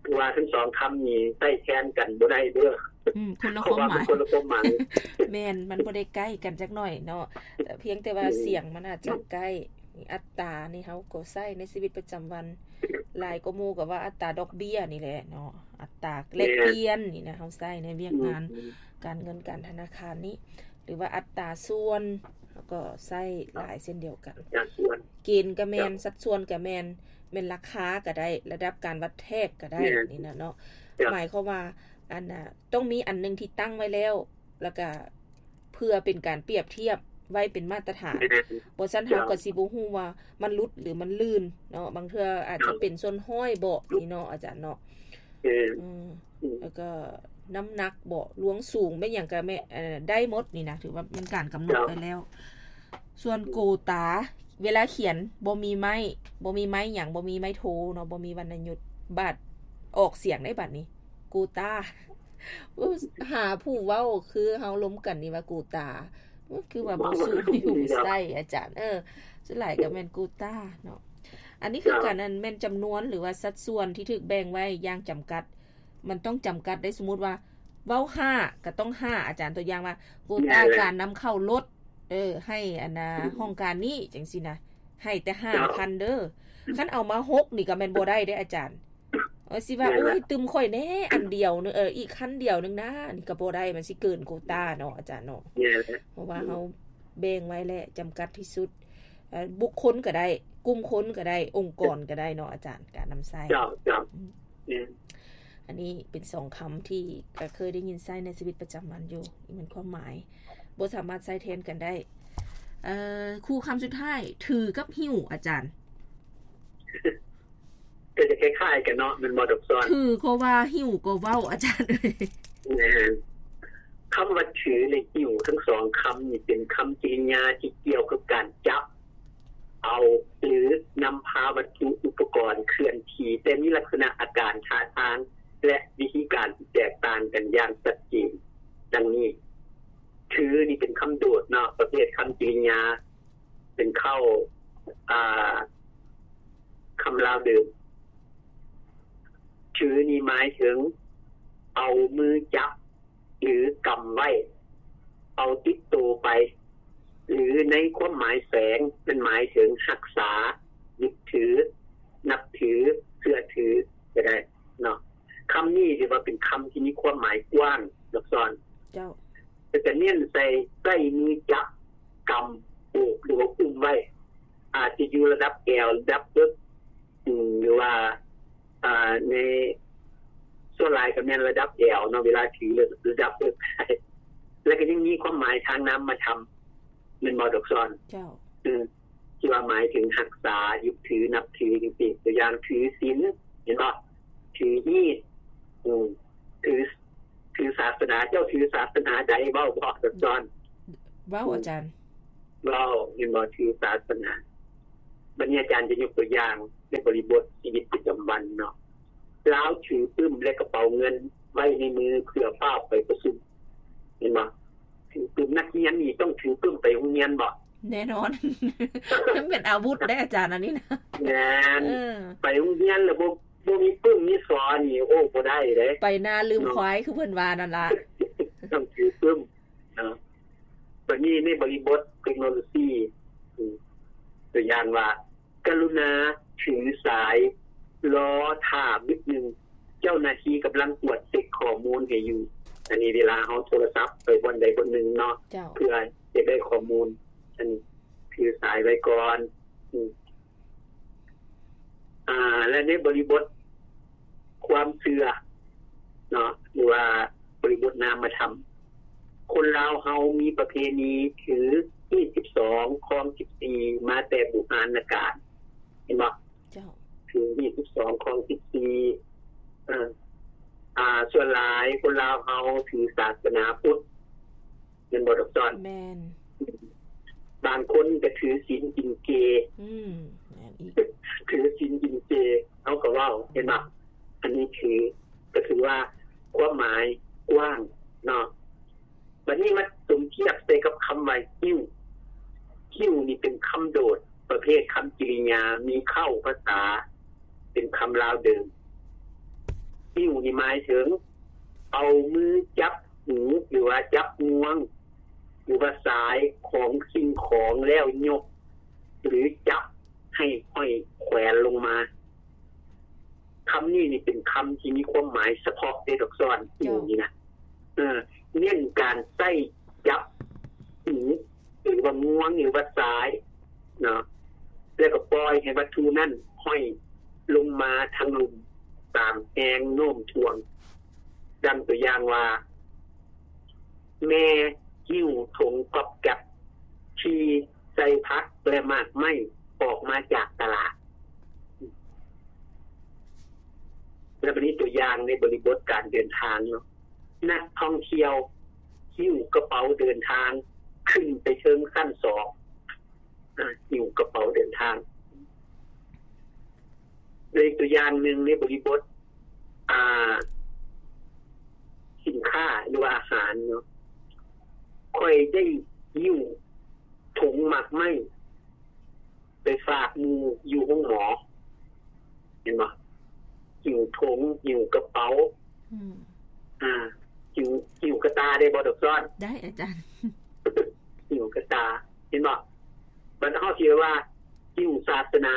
ຄືວ່າທັງສອງຄຳນີ້ໃຊ້ແທນກັນບໍ່ໄດ້ເດີ້. ອືມ ຄົນລະຄວາມໝາຍ. ເພາະວ່າມັນຄົນລະຄວາມໝາຍ. ແມ່ນ ມັນບໍ່ໄດ້ໃກ້ກັນຈັກໜ້ອຍເນາະ ພຽງແຕ່ວ່າ ອືມ ສຽງມັນອາດຈະໃກ້. ອັດຕານີ້ເຮົາກໍໃຊ້ໃນຊີວິດປະຈຳວັນ ຫຼາຍກວ່າໝູ່ກໍວ່າອັດຕາດອກເບ້ຍນີ້ແຫຼະເນາະ ອັດຕາແລກປ່ຽນນີ້ນະ ເຮົາໃຊ້ໃນວຽກງານ ອືມ ການເງິນການທະນາຄານນີ້ ຫຼືວ່າອັດຕາສ່ວນ ເຮົາກໍໃຊ້ຫຼາຍເຊັ່ນດຽວກັນ. ອັດຕາສ່ວນ ເກນກໍແມ່ນ ເຈົ້າ ສັດສ່ວນກໍແມ່ນ ແມ່ນລາຄາກໍໄດ້ ລະດັບການວັດແທກກໍໄດ້ ແມ່ນ ນີ້ນະເນາະ. ເຈົ້າ ໝາຍຄວາມວ່າ ອັນນ່າ ຕ້ອງມີອັນໜຶ່ງທີ່ຕັ້ງໄວ້ແລ້ວ ແລ້ວກໍເພື່ອເປັນການປຽບທຽບໄວ້ເປັນມາດຕະຖານ ແມ່ນ ບໍ່ຊັ້ນເຮົາກໍຊິບໍ່ຮູ້ວ່າມັນຫຼຸດຫຼືມັນລື່ນເນາະ ບາງເທື່ອອາດຈະເປັນສ່ວນຮ້ອຍເບາະນີ້ເນາະອາຈານເນາະ. ແມ່ນ ອືມ ອືມ ແລ້ວກໍນ້ຳໜັກເບາະ ລວງສູງ ແມ່ນຫຍັງກໍແມ່ນ ເອີ ໄດ້ໝົດນີ້ນະ ຖືວ່າແມ່ນການກຳນົດໄວ້ແລ້ວ. ເຈົ້າ ສ່ວນໂກຕາ ເວລາຂຽນບໍ່ມີໄມ້ ບໍ່ມີໄມ້ຫຍັງ ບໍ່ມີໄມ້ໂທເນາະ ບໍ່ມີວັນນະຍຸດ ບາດອອກສຽງໄດ້ບາດນີ້ ໂກຕາ. ໂອ້ ຫາຜູ້ເວົ້າຄືເຮົາລົມກັນນີ້ວ່າກູຕາ ໂອ້ ຄືວ່າບໍ່ສູ້ຢູ່ໃສ່ອາຈານ. ເອີ ສ່ວນຫຼາຍກໍແມ່ນກູຕາເນາະ. ອັນນີ້ຄື ເຈົ້າ ກັນ ອັນແມ່ນຈຳນວນ ຫຼືວ່າສັດສ່ວນທີ່ຖືກແບ່ງໄວ້ຢ່າງຈຳກັດ ມັນຕ້ອງຈຳກັດໄດ້. ສົມມຸດວ່າເວົ້າຫ້າກໍຕ້ອງຫ້າ ອາຈານ. ຕົວຢ່າງວ່າ ໂກຕາ ແມ່ນແຫຼະ ການນຳເຂົ້າລົດ ເອີ ໃຫ້ອັນນ່າ ອືມ ຫ້ອງການນີ້ ຈັ່ງຊີ້ນະ ໃຫ້ແຕ່ຫ້າ ເຈົ້າ ຄັນເດີ້. ຄັນເອົາມາຫົກນີ້ກໍແມ່ນບໍ່ໄດ້ເດ້ອາຈານ. ເອີ ຊິວ່າ ແມ່ນລະ ໂອ້ຍ ຕື່ມຂ້ອຍແນ່ອັນດຽວໜຶ່ງ ເອີ ອີກຄັນດຽວໜຶ່ງນະ ນີ້ກໍບໍ່ໄດ້ ມັນຊິເກີນໂກຕາເນາະອາຈານເນາະ. ແມ່ນລະ ເພາະວ່າເຮົາແບ່ງໄວ້ແລ້ວ ຈຳກັດທີ່ສຸດ ເອີ ບຸກຄົນກໍໄດ້ ກຸ່ມຄົນກໍໄດ້ ອົງກອນກໍໄດ້ເນາະອາຈານ ການນຳໃຊ້. ເຈົ້າ ເຈົ້າ ອືມ ແມ່ນ. ອັນນີ້ເປັນສອງຄຳທີ່ກໍເຄີຍໄດ້ຍິນໃຊ້ໃນຊີວິດປະຈຳວັນຢູ່ ນີ້ແມ່ນຄວາມໝາຍ ບໍ່ສາມາດໃຊ້ແທນກັນໄດ້. ເອີ ຄູ່ຄຳສຸດທ້າຍ ຖືກັບຫິ້ວ ອາຈານ. ກໍຈະຄ້າຍໆກັນເນາະ ແມ່ນບໍ່ດອກຊອນ? ຖືກໍວ່າ ຫິ້ວກໍເວົ້າ ອາຈານເອີຍ. ແມ່ນ. ຄຳວ່າຖື ແລະ ຫິ້ວ ທັງສອງຄຳນີ້ເປັນຄຳກິລິຍາທີ່ກ່ຽວກັບການຈັບເອົາ ຫຼື ນຳພາວັດຖຸອຸປະກອນເຄື່ອນທີ່ ແຕ່ມີລັກສະນະອາການທ່າທາງ ແລະ ວິທີການທີ່ແຕກຕ່າງກັນຢ່າງຊັດເຈນ ດັ່ງນີ້. ຖືນີ້ເປັນຄຳໂດດເນາະ ປະເພດຄຳກິລິຍາ ເປັນເຄົ້າ ອ່າ ຄຳລາວເດີມ. ຖືນີ້ໝາຍເຖິງເອົາມືຈັບ ຫຼື ກຳໄວ້ ເອົາຕິດໂຕໄປ ຫຼື ໃນຄວາມໝາຍແຝງ ມັນໝາຍເຖິງຮັກສາ, ຍຶດຖື, ນັບຖື, ເຊື່ອຖືກໍໄດ້ເນາະ. ຄຳນີ້ຖືວ່າເປັນຄຳທີ່ມີຄວາມໝາຍກວ້າງ ດອກຊອນ. ເຈົ້າ. ແຕ່ຈະເນັ້ນໃສ່ ໃຊ້ມືຈັບ, ກຳ, ໂອບ ຫຼືວ່າອຸ້ມໄວ້ ອາດຈະຢູ່ລະດັບແອວ, ລະດັບເອິກ ອາ ຫຼືວ່າ ອາ ໃນ ສ່ວນຫຼາຍກໍແມ່ນລະດັບແອວເນາະ ເວລາຖືລະດັບເອິກ ແລ້ວກໍຍັງມີຄວາມໝາຍທາງນາມມະທຳ ແມ່ນບໍ່ ດອກຊອນ? ເຈົ້າ. ອື ທີ່ວ່າໝາຍເຖິງຮັກສາ, ຍຶດຖື, ນັບຖື ຈັ່ງຊີ້. ຕົວຢ່າງ ຖືສິນ ເຫັນບໍ່? ຖືຮີດ ອື ຖື ຖືສາສະໜາ. ເຈົ້າຖືສາສະໜາໃດ? ເວົ້າບໍ່ ດອກຊອນ? ເວົ້າ ອື ອາຈານ. ເວົ້າ ເຫັນບໍ່? ຖືສາສະໜາ. ບັດນີ້ອາຈານຈະຍົກຕົວຢ່າງໃນບໍລິບົດຊີວິດປະຈຳວັນເນາະ. ລາວຖືປຶ້ມ ແລະ ກະເປົາເງິນ ແນ່ນອນ ມັນເປັນອາວຸດເດ້ອາຈານ ອັນນີ້ນະ. ແມ່ນ ເອີ ໄປໂຮງຮຽນແລ້ວບໍ່ ບໍ່ມີປຶ້ມມີສໍນີ້ ໂອ້ ບໍ່ໄດ້ເດ້. ໄປນາລືມຄວາຍ ເນາະ ຄືເພິ່ນວ່ານັ້ນລະ ຕ້ອງຖືປຶ້ມເນາະ. ບັດນີ້ໃນບໍລິບົດເຕັກໂນໂລຊີ ອືມ ຕົວຢ່າງວ່າ ກະລຸນາຖືສາຍ ລໍຖ້າບຶດໜຶ່ງ ເຈົ້າໜ້າທີ່ກຳລັງກວດເຊັກຂໍ້ມູນໃຫ້ຢູ່. ອັນນີ້ເວລາເຮົາໂທລະສັບໄປບ່ອນໃດບ່ອນໜຶ່ງເນາະ ເຈົ້າ ເພື່ອຈະໄດ້ຂໍ້ມູນ ອັນນີ້ຖືສາຍໄວ້ກ່ອນ. ອືມ ອ່າ ແລະ ໃນບໍລິບົດຄວາມເຊື່ອເນາະ ຫຼືວ່າບໍລິບົດນາມະທຳ ຄົນລາວເຮົາມີປະເພນີຖືຮີດສິບສອງ ຄອງສິບສີ່ ມາແຕ່ບູຮານນະການ ເຫັນບໍ່? ເຈົ້າ ຖືຮີດສິບສອງ ຄອງສິບສີ່ ເອີ ອ່າ ສ່ວນຫຼາຍຄົນລາວເຮົາຖືສາສະໜາພຸດ ແມ່ນບໍ່ດອກສອນ? ແມ່ນ. ບາງຄົນກໍຖືສິນກິນເຈ. ອືມ ແມ່ນອີກ. ຖືສິນກິນເຈ ເຮົາກໍເວົ້າ ເຫັນບໍ່? ອັນນີ້ຖື ກໍຖືວ່າຄວາມໝາຍກວ້າງເນາະ. ບັດນີ້ມາສົມທຽບໃສ່ກັບຄຳວ່າຫິ້ວ. ຫິ້ວນີ້ເປັນຄຳໂດດ ປະເພດຄຳກິລິຍາ ມີເຄົ້າພາສາ ເປັນຄຳລາວເດີມ. ຫິ້ວນີ້ໝາຍເຖິງ ເອົາມືຈັບຫູ ຫຼືວ່າຈັບງວງ ຫຼືວ່າສາຍຂອງສິ່ງຂອງແລ້ວຍົກ ຫຼື ຈັບໃຫ້ຫ້ອຍແຂວນລົງມາ. ຄຳນີ້ນີ້ເປັນຄຳທີ່ມີຄວາມໝາຍສະເພາະເດ້ດອກສອນ ເຈົ້າ ຫິ້ວນີ້ນະ. ເອີ ເນັ້ນການໃຊ້ຈັບຫູ ຫຼືວ່າງວງ ຫຼືວ່າສາຍເນາະ ແລ້ວກໍປ່ອຍໃຫ້ວັດຖຸນັ້ນຫ້ອຍລົງມາທາງລຸ່ມຕາມແຮງໂນ້ມຖ່ວງ. ດັ່ງຕົວຢ່າງວ່າ ແມ່ຫິ້ວຖົງກອບແກັບທີ່ໃສ່ຜັກ ແລະ ໝາກໄມ້ອອກມາຈາກຕະຫຼາດ. ແລ້ວບັດນີ້ຕົວຢ່າງໃນບໍລິບົດການເດີນທາງເນາະ ນັກທ່ອງທ່ຽວຫິ້ວກະເປົາເດີນທາງຂຶ້ນໄປເທິງຊັ້ນສອງ. ອ່າ ຫິ້ວກະເປົາເດີນທາງ. ແລະ ອີກຕົວຢ່າງໜຶ່ງໃນບໍລິບົດ ອ່າ ສິນຄ້າ ຫຼືວ່າອາຫານເນາະ ຂ້ອຍໄດ້ຫິ້ວຖົງໝາກໄມ້ໄປຝາກໝູ່ຢູ່ໂຮງໝໍ. ເຫັນບໍ່? ຫິ້ວຖົງ ຫິ້ວກະເປົາ. ອືມ ອ່າ ຫິ້ວ ຫິ້ວກະຕ່າໄດ້ບໍ່ດອກສອນ? ໄດ້ອາຈານ. ຫິ້ວກະຕ່າ ເຫັນບໍ່? ບັດເຮົາຊິວ່າຫິ້ວສາສະໜາ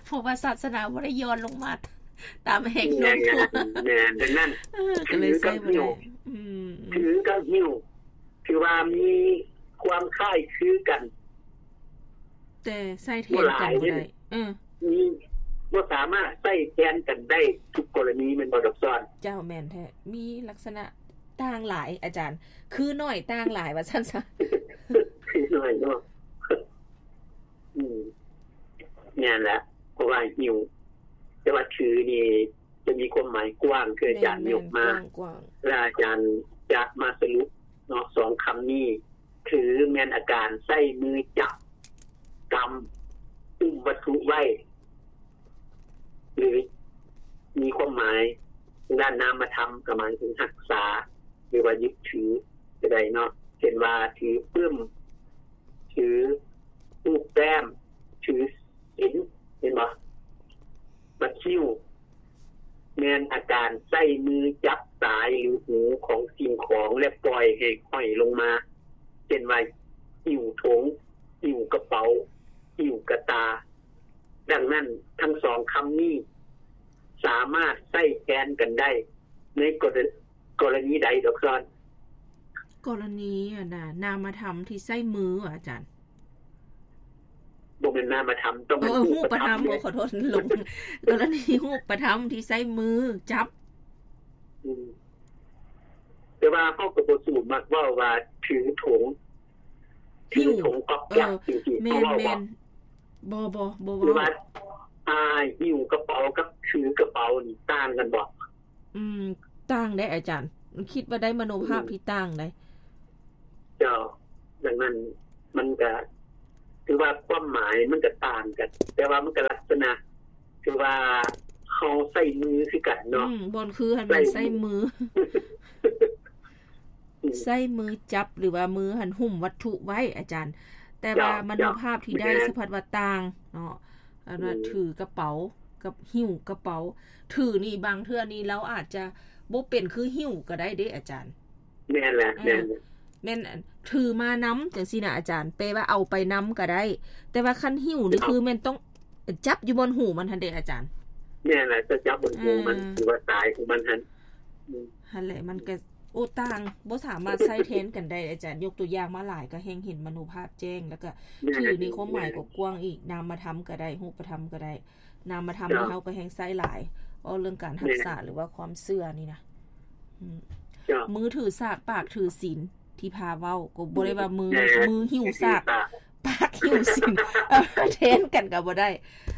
ເພາະວ່າສາສະໜາບໍ່ໄດ້ຍ້ອນລົງມາຕາມແຮງໂນ້ມຖ່ວງ. ແມ່ນ ແມ່ນ ດັ່ງນັ້ນ ເອີ ກໍເລີຍໃຊ້ບໍ່ໄດ້. ຖືກັບຫິ້ວ ອືມ ຖືກັບຫິ້ວ ຖືວ່າມີຄວາມຄ້າຍຄືກັນ ແຕ່ໃຊ້ແທນກັນບໍ່ໄດ້. ເອີ ມີ ບໍ່ສາມາດໃຊ້ແທນກັນໄດ້ທຸກກໍລະນີ ແມ່ນບໍ່ດອກສອນ? ເຈົ້າ ແມ່ນແທ້ ມີລັກສະນະຕ່າງຫຼາຍອາຈານ ຄືໜ້ອຍຕ່າງຫຼາຍວ່າຊັ້ນຊະ. ຄືໜ້ອຍເນາະ. ອືມ ແມ່ນແຫຼະ ເພາະວ່າຫິ້ວ ແຕ່ວ່າຖືນີ້ຈະມີຄວາມໝາຍກວ້າງ ຄືອາຈານ ແມ່ນໆ ຍົກມາ ກວ້າງໆ ແລະ ອາຈານຈະມາສະຫຼຸບເນາະ ສອງຄຳນີ້ ຖືແມ່ນອາການໃຊ້ມືຈັບ, ກຳ, ອຸ້ມວັດຖຸໄວ້ ຫຼື ມີຄວາມໝາຍທາງດ້ານນາມະທຳ ກໍໝາຍເຖິງຮັກສາ ຫຼືວ່າຍຶດຖືກໍໄດ້ເນາະ ເຊັ່ນວ່າ ຖືປຶ້ມ, ຖືຮູບແຕ້ມ, ຖືສິນ ເຫັນບໍ່? ບັດຫິ້ວ ແມ່ນອາການໃຊ້ມືຈັບສາຍ ຫຼື ຫູຂອງສິ່ງຂອງ ແລະ ປ່ອຍໃຫ້ຫ້ອຍລົງມາ ເຊັ່ນວ່າ ຫິ້ວຖົງ, ຫິ້ວກະເປົາ, ຫິ້ວກະຕ່າ. ດັ່ງນັ້ນ ທັງສອງຄຳນີ້ສາມາດໃຊ້ແທນກັນໄດ້ໃນກໍລະ ກໍລະນີໃດດອກຊອນ? ກໍລະນີ ອັນນ່າ ນາມະທຳທີ່ໃຊ້ມື ອາຈານ. ບໍ່ແມ່ນນາມະທຳ ຕ້ອງເປັນ ເອີ ຮູບປະທຳ ຮູບປະທຳເດ້. ຂໍໂທດ ຫຼົງ ກໍລະນີຮູບປະທຳທີ່ໃຊ້ມືຈັບ. ອືມ ແຕ່ວ່າເຮົາກໍບໍ່ສູ້ມັກເວົ້າວ່າຖືຖົງ ຖືຖົງກອບແກັບ ເອີ ຈັ່ງຊີ້ ແມ່ນໆ ເຮົາເວົ້າບໍ່? ບໍ່ ບໍ່ ບໍ່ເວົ້າ. ຫຼືວ່າ ອ່າ ຫິ້ວກະເປົາກັບຖືກະເປົານີ້ຕ່າງກັນບໍ່? ອືມ ຕ່າງເດ້ອາຈານ ຄິດວ່າໄດ້ມະໂນພາບ ອືມ ທີ່ຕ່າງເດ້. ເຈົ້າ ດັ່ງນັ້ນມັນກະຖືວ່າຄວາມໝາຍມັນກະຕ່າງກັນ ແຕ່ວ່າມັນກະລັກສະນະຄືວ່າເຮົາໃຊ້ມືຄືກັນເນາະ. ອືມ ບ່ອນຄືຫັ້ນແມ່ນໃຊ້ ໃຊ້ມື ອື ໃຊ້ມືຈັບ ຫຼືວ່າມືຫັ້ນຫຸ້ມວັດຖຸໄວ້ອາຈານ, ແຕ່ວ່າ ເຈົ້າ ມະໂນພາບທີ່ໄດ້ ເຈົ້າ ສະພັດວ່າຕ່າງເນາະ. ອັນວ່າ ອືມ ຖືກະເປົາກັບຫິ້ວກະເປົາ, ຖືນີ້ບາງເທື່ອນີ້ລາວອາດຈະບໍ່ເປັນຄືຫິ້ວກໍໄດ້ເດ້ອາຈານ. ແມ່ນແຫຼະ ເອີ ແມ່ນ ແມ່ນ ຖືມານຳຈັ່ງຊີ້ນະອາຈານ, ແປວ່າເອົາໄປນຳກໍໄດ້ ແຕ່ວ່າຄັນຫິ້ວນີ້ ເຈົ້າ ຄືແມ່ນຕ້ອງຈັບຢູ່ບ່ອນຫູມັນຫັ້ນເດ້ອາຈານ. ແມ່ນແຫຼະ ຈະຈັບບ່ອນຫູມັນ ເອີ ຫຼືວ່າສາຍຂອງມັນຫັ້ນ. ອືມ ຫັ້ນແຫຼະ ມັນກໍ ໂອ້ ຕ່າງ ບໍ່ສາມາດໃຊ້ແທນກັນໄດ້ອາຈານ. ຍົກຕົວຢ່າງມາຫຼາຍ ກໍແຮ່ງເຫັນມະໂນພາບແຈ້ງ ແລ້ວກໍ ແມ່ນ ຖືນີ້ຄວາມໝາຍ ແມ່ນ ກໍກວ້າງອີກ, ນາມະທຳກໍໄດ້ ຮູບປະທຳກໍໄດ້. ນາມະທຳ ເຈົ້າ ນີ້ເຮົາກໍແຮ່ງໃຊ້ຫຼາຍ ເວົ້າເລື່ອງການຮັກສາ ແມ່ນ ຫຼືວ່າຄວາມເຊື່ອນີ້ນະ. ອືມ ເຈົ້າ ມືຖືສາກ ປາກຖືສິນ ທີ່ພາເວົ້າ ກໍບໍ່ໄດ້ວ່າມື ແມ່ນ ມືຫິ້ວສາກ ຫິ້ວສາກ ປາກຫິ້ວສິນ ເອີ ແທນກັນກໍບໍ່ໄດ້.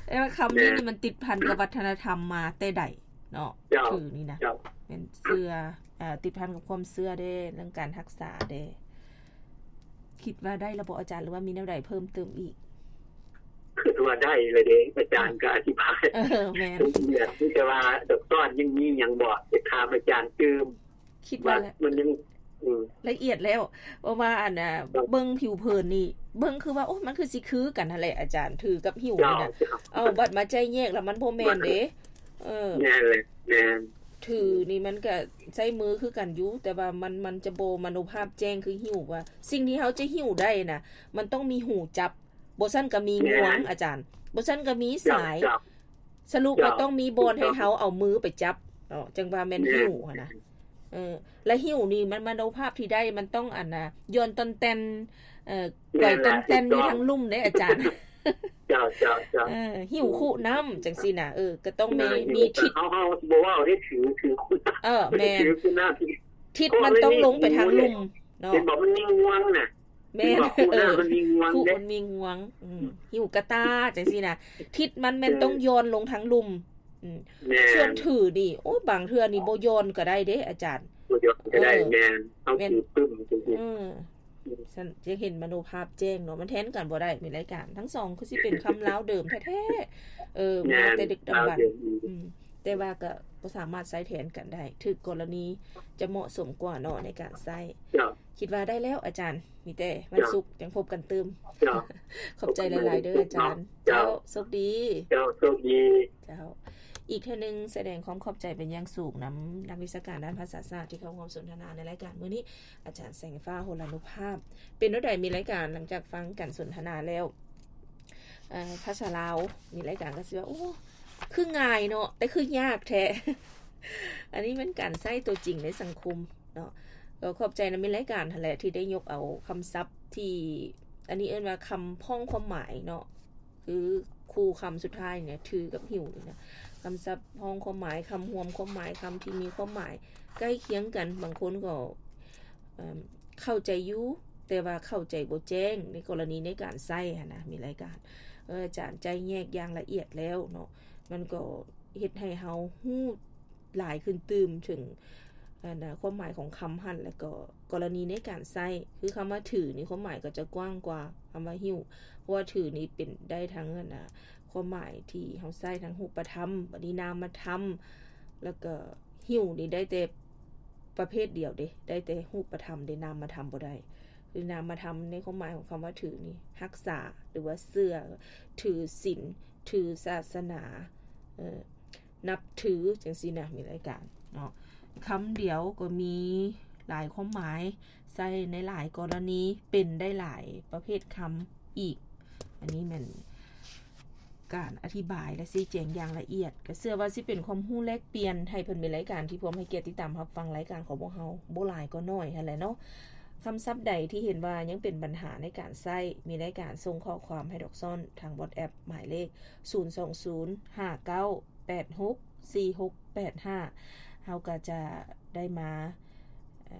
ແຕ່ວ່າຄຳນີ້ ແມ່ນ ນີ້ມັນຕິດພັນກັບວັດທະນະທຳມາແຕ່ໃດເນາະ. ເຈົ້າ ຖືນີ້ນະ ເຈົ້າ ແມ່ນເຊື່ອ ເອີ ຕິດພັນກັບຄວາມເຊື່ອເດ້ ເລື່ອງການຮັກສາເດ້. ຄິດວ່າໄດ້ແລ້ວບໍ່ອາຈານ ຫຼືວ່າມີແນວໃດເພີ່ມເຕີມອີກ? ຄິດວ່າໄດ້ແລ້ວເດ້ ອາຈານ ເອີ ກໍອະທິບາຍ ເອີ ແມ່ນ ລະອຽດ ມີແຕ່ວ່າດອກຕອນຍັງມີຫຍັງບໍ່ ຈະຖາມອາຈານຕື່ມ. ຄິດວ່າ ວ່າລະ ມັນຍັງ ອືມ ລະອຽດແລ້ວ ເພາະວ່າອັນນ່າ ເບິ່ງຜິວເຜິນນີ້ ເບິ່ງຄືວ່າ ໂອ້ ມັນຄືຊິຄືກັນຫັ້ນແຫຼະອາຈານ ຖືກັບຫິ້ວນີ້ນະ. ເຈົ້າ ເອົາ ບັດມາໄຈ້ແຍກລະມັນບໍ່ແມ່ນເດ້. ເອີ ແມ່ນແຫຼະ ແມ່ນ ຖືນີ້ມັນກະໃຊ້ມືຄືກັນຢູ່ ແຕ່ວ່າມັນ ມັນຈະບໍ່ມະໂນພາບແຈ້ງຄືຫິ້ວ ວ່າສິ່ງທີ່ເຮົາຈະຫິ້ວໄດ້ນະ ມັນຕ້ອງມີຫູຈັບ ບໍ່ຊັ້ນກະມີງວງ ແມ່ນ ອາຈານ ບໍ່ຊັ້ນກະມີສາຍ. ເຈົ້າ ເຈົ້າ ສະຫຼຸບ ເຈົ້າ ວ່າຕ້ອງມີບ່ອນໃຫ້ເຮົາເອົາມືໄປຈັບເນາະ ຈັ່ງວ່າແມ່ນ ແມ່ນ ຫິ້ວຫັ້ນນະ. ເອີ ລະຫິ້ວນີ້ມັນມະໂນພາບທີ່ໄດ້ ມັນຕ້ອງອັນນ່າ ຢ່ອນຕ່ອນແຕ່ນ ເອີ ແມ່ນ ໄກວຕ່ອນແຕ່ນ ລະ ຢູ່ທາງລຸ່ມເດ້ອາຈານ. ເຈົ້າ ເຈົ້າ ເຈົ້າ ເອີ ຫິ້ວຄຸນ້ຳຈັ່ງຊີ້ນະ. ເອີ ກໍຕ້ອງມີ ເອີ ຫິ້ວ ມີທິດ ເຮົາ ເຮົາບໍ່ເວົ້າເດ້ ຖື ຖືຄຸນ້ຳ ເອີ ແມ່ນ ຖືຄຸນ້ຳ ທິດມັນຕ້ອງລົງໄປທາງລຸ່ມເນາະ ເຫັນບໍ່ ມັນມີງວງນະ. ແມ່ນ ເຫັນບໍ່ ຄຸນ້ຳ ເອີ ມັນມີງວງ ຄຸ ເດ້ ມັນມີງວງ. ອືມ ຫິ້ວກະຕ່າຈັ່ງຊີ້ນະ ທິດມັນແມ່ນ ເອີ ຕ້ອງຢ່ອນລົງທາງລຸ່ມ. ອືມ ແມ່ນ ສ່ວນຖືນີ້ ໂອ້ຍ ບາງເທື່ອນີ້ບໍ່ຢ່ອນກໍໄດ້ເດ້ອາຈານ ບໍ່ຢ່ອນກໍໄດ້. ເອີ ແມ່ນ ເຮົາ ແມ່ນ ຖືປຶ້ມຈັ່ງຊີ້ ເອີ ຊັ້ນຈະເຫັນມະໂນພາບແຈ້ງເນາະ ມັນແທນກັນບໍ່ໄດ້. ມີລາຍການທັງສອງຄືຊິເປັນຄຳລາວເດີມແທ້ໆ ເອີ ແມ່ນ ມາແຕ່ດຶກດຳບັນ ລາວເດີມ ອືມ ແຕ່ວ່າກໍບໍ່ສາມາດໃຊ້ແທນກັນໄດ້ ຖືກກໍລະນີຈະເໝາະສົມກວ່າເນາະໃນການໃຊ້. ເຈົ້າ ຄິດວ່າໄດ້ແລ້ວອາຈານ ມີແຕ່ວັນ ເຈົ້າ ສຸກຈັ່ງພົບກັນຕື່ມ. ເຈົ້າ ຂອບໃຈຫຼາຍໆເດີອາຈານ. ເຈົ້າ ເຈົ້າ ໂຊກດີ. ເຈົ້າ ໂຊກດີ. ເຈົ້າ ອີກເທື່ອໜຶ່ງສະແດງຄວາມຂອບໃຈເປັນຢ່າງສູງນຳນັກວິຊາການດ້ານພາສາສາດທີ່ເຂົ້າຮ່ວມສົນທະນາໃນລາຍການມື້ນີ້ ອາຈານແສງຟ້າ ໂຫລານຸພາບ. ເປັນແນວໃດ ມີລາຍການ ຫຼັງຈາກຟັງການສົນທະນາແລ້ວ ເອີ ພາສາລາວ ມີລາຍການກໍຊິວ່າ ໂອ້ ຄືງ່າຍເນາະ ແຕ່ຄືຍາກແທ້. ອັນນີ້ແມ່ນການໃຊ້ຕົວຈິງໃນສັງຄົມເນາະ. ກໍຂອບໃຈນຳມີລາຍການຫັ້ນແຫຼະ ທີ່ໄດ້ຍົກເອົາຄຳສັບທີ່ ອັນນີ້ເອີ້ນວ່າຄຳພ້ອງຄວາມໝາຍເນາະ ຄືຄູ່ຄຳສຸດທ້າຍນີ້ ຖືກັບຫິ້ວນີ້ນະ ຄຳສັບພ້ອງຄວາມໝາຍ ຄຳຮວມຄວາມໝາຍ ຄຳທີ່ມີຄວາມໝາຍໃກ້ຄຽງກັນ. ບາງຄົນກໍ ເອີ ເຂົ້າໃຈຢູ່ ແຕ່ວ່າເຂົ້າໃຈບໍ່ແຈ້ງ ໃນກໍລະນີໃນການໃຊ້ຫັ້ນນະ ມີລາຍການ ເອີ ອາຈານໄຈ້ແຍກຢ່າງລະອຽດແລ້ວເນາະ ມັນກໍເຮັດໃຫ້ເຮົາຮູ້ຫຼາຍຂຶ້ນຕື່ມເຖິງ ອັນນະ ຄວາມໝາຍຂອງຄຳຫັ້ນ ແລ້ວກໍກໍລະນີໃນການໃຊ້ ຄືຄຳວ່າຖືນີ້ ຄວາມໝາຍກໍຈະກວ້າງກວ່າຄຳວ່າຫິ້ວ ເພາະວ່າຖືນີ້ເປັນໄດ້ທັງ ອັນນະ ຄວາມໝາຍທີ່ເຮົາໃຊ້ທັງຮູບປະທຳ ບັດນີ້ນາມະທຳ ແລ້ວກໍຫິ້ວນີ້ໄດ້ແຕ່ ປະເພດດຽວເດ້ ໄດ້ແຕ່ຮູບປະທຳເດ້ ນາມມະທຳບໍ່ໄດ້. ຄືນາມມະທຳໃນຄວາມໝາຍຂອງຄຳວ່າຖືນີ້ ຮັກສາ ຫຼືວ່າເຊື່ອ ຖືສິນ ຖືສາສະໜາ ເອີ ນັບຖື ຈັ່ງຊີ້ນະ ມີລາຍການເນາະ. ຄຳດຽວກໍມີຫຼາຍຄວາມໝາຍ ໃຊ້ໃນຫຼາຍກໍລະນີ ເປັນໄດ້ຫຼາຍປະເພດຄຳອີກ. ອັນນີ້ແມ່ນ ການອະທິບາຍ ແລະ ຊີ້ແຈງຢ່າງລະອຽດ ກໍເຊື່ອວ່າຊິເປັນຄວາມຮູ້ແລກປ່ຽນໃຫ້ເພິ່ນມີລາຍການທີ່ພ້ອມໃຫ້ກຽດຕິດຕາມຮັບຟັງລາຍການຂອງພວກເຮົາ ບໍ່ຫຼາຍກໍໜ້ອຍຫັ້ນແຫຼະເນາະ. ຄຳສັບໃດທີ່ເຫັນວ່າຍັງເປັນບັນຫາໃນການໃຊ້ ມີລາຍການສົ່ງຂໍ້ຄວາມໃຫ້ດອກຊອນທາງ WhatsApp ໝາຍເລກ ສູນສອງສູນ ຫ້າເກົ້າ ແປດຫົກ ສີ່ຫົກ ແປດຫ້າ ເຮົາກໍຈະໄດ້ມາ ເອີ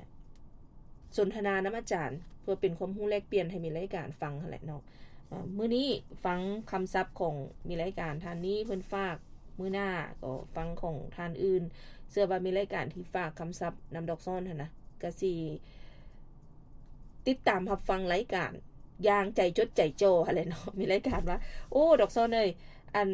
ສົນທະນານຳອາຈານ ເພື່ອເປັນຄວາມຮູ້ແລກປ່ຽນໃຫ້ມີລາຍການຟັງຫັ້ນແຫຼະເນາະ. ເອີ ມື້ນີ້ຟັງຄຳສັບຂອງມີລາຍການທ່ານນີ້ເພິ່ນຝາກ ມື້ໜ້າກໍຟັງຂອງທ່ານອື່ນ. ເຊື່ອວ່າມີລາຍການທີ່ຝາກຄຳສັບນຳດອກຊອນຫັ້ນນະ ກະຊິຕິດຕາມຮັບຟັງລາຍການຢ່າງໃຈຈົດໃຈຈ່ອຫັ້ນແຫຼະເນາະ. ມີລາຍການວ່າ ໂອ້ ດອກຊອນເອີຍ ອັນ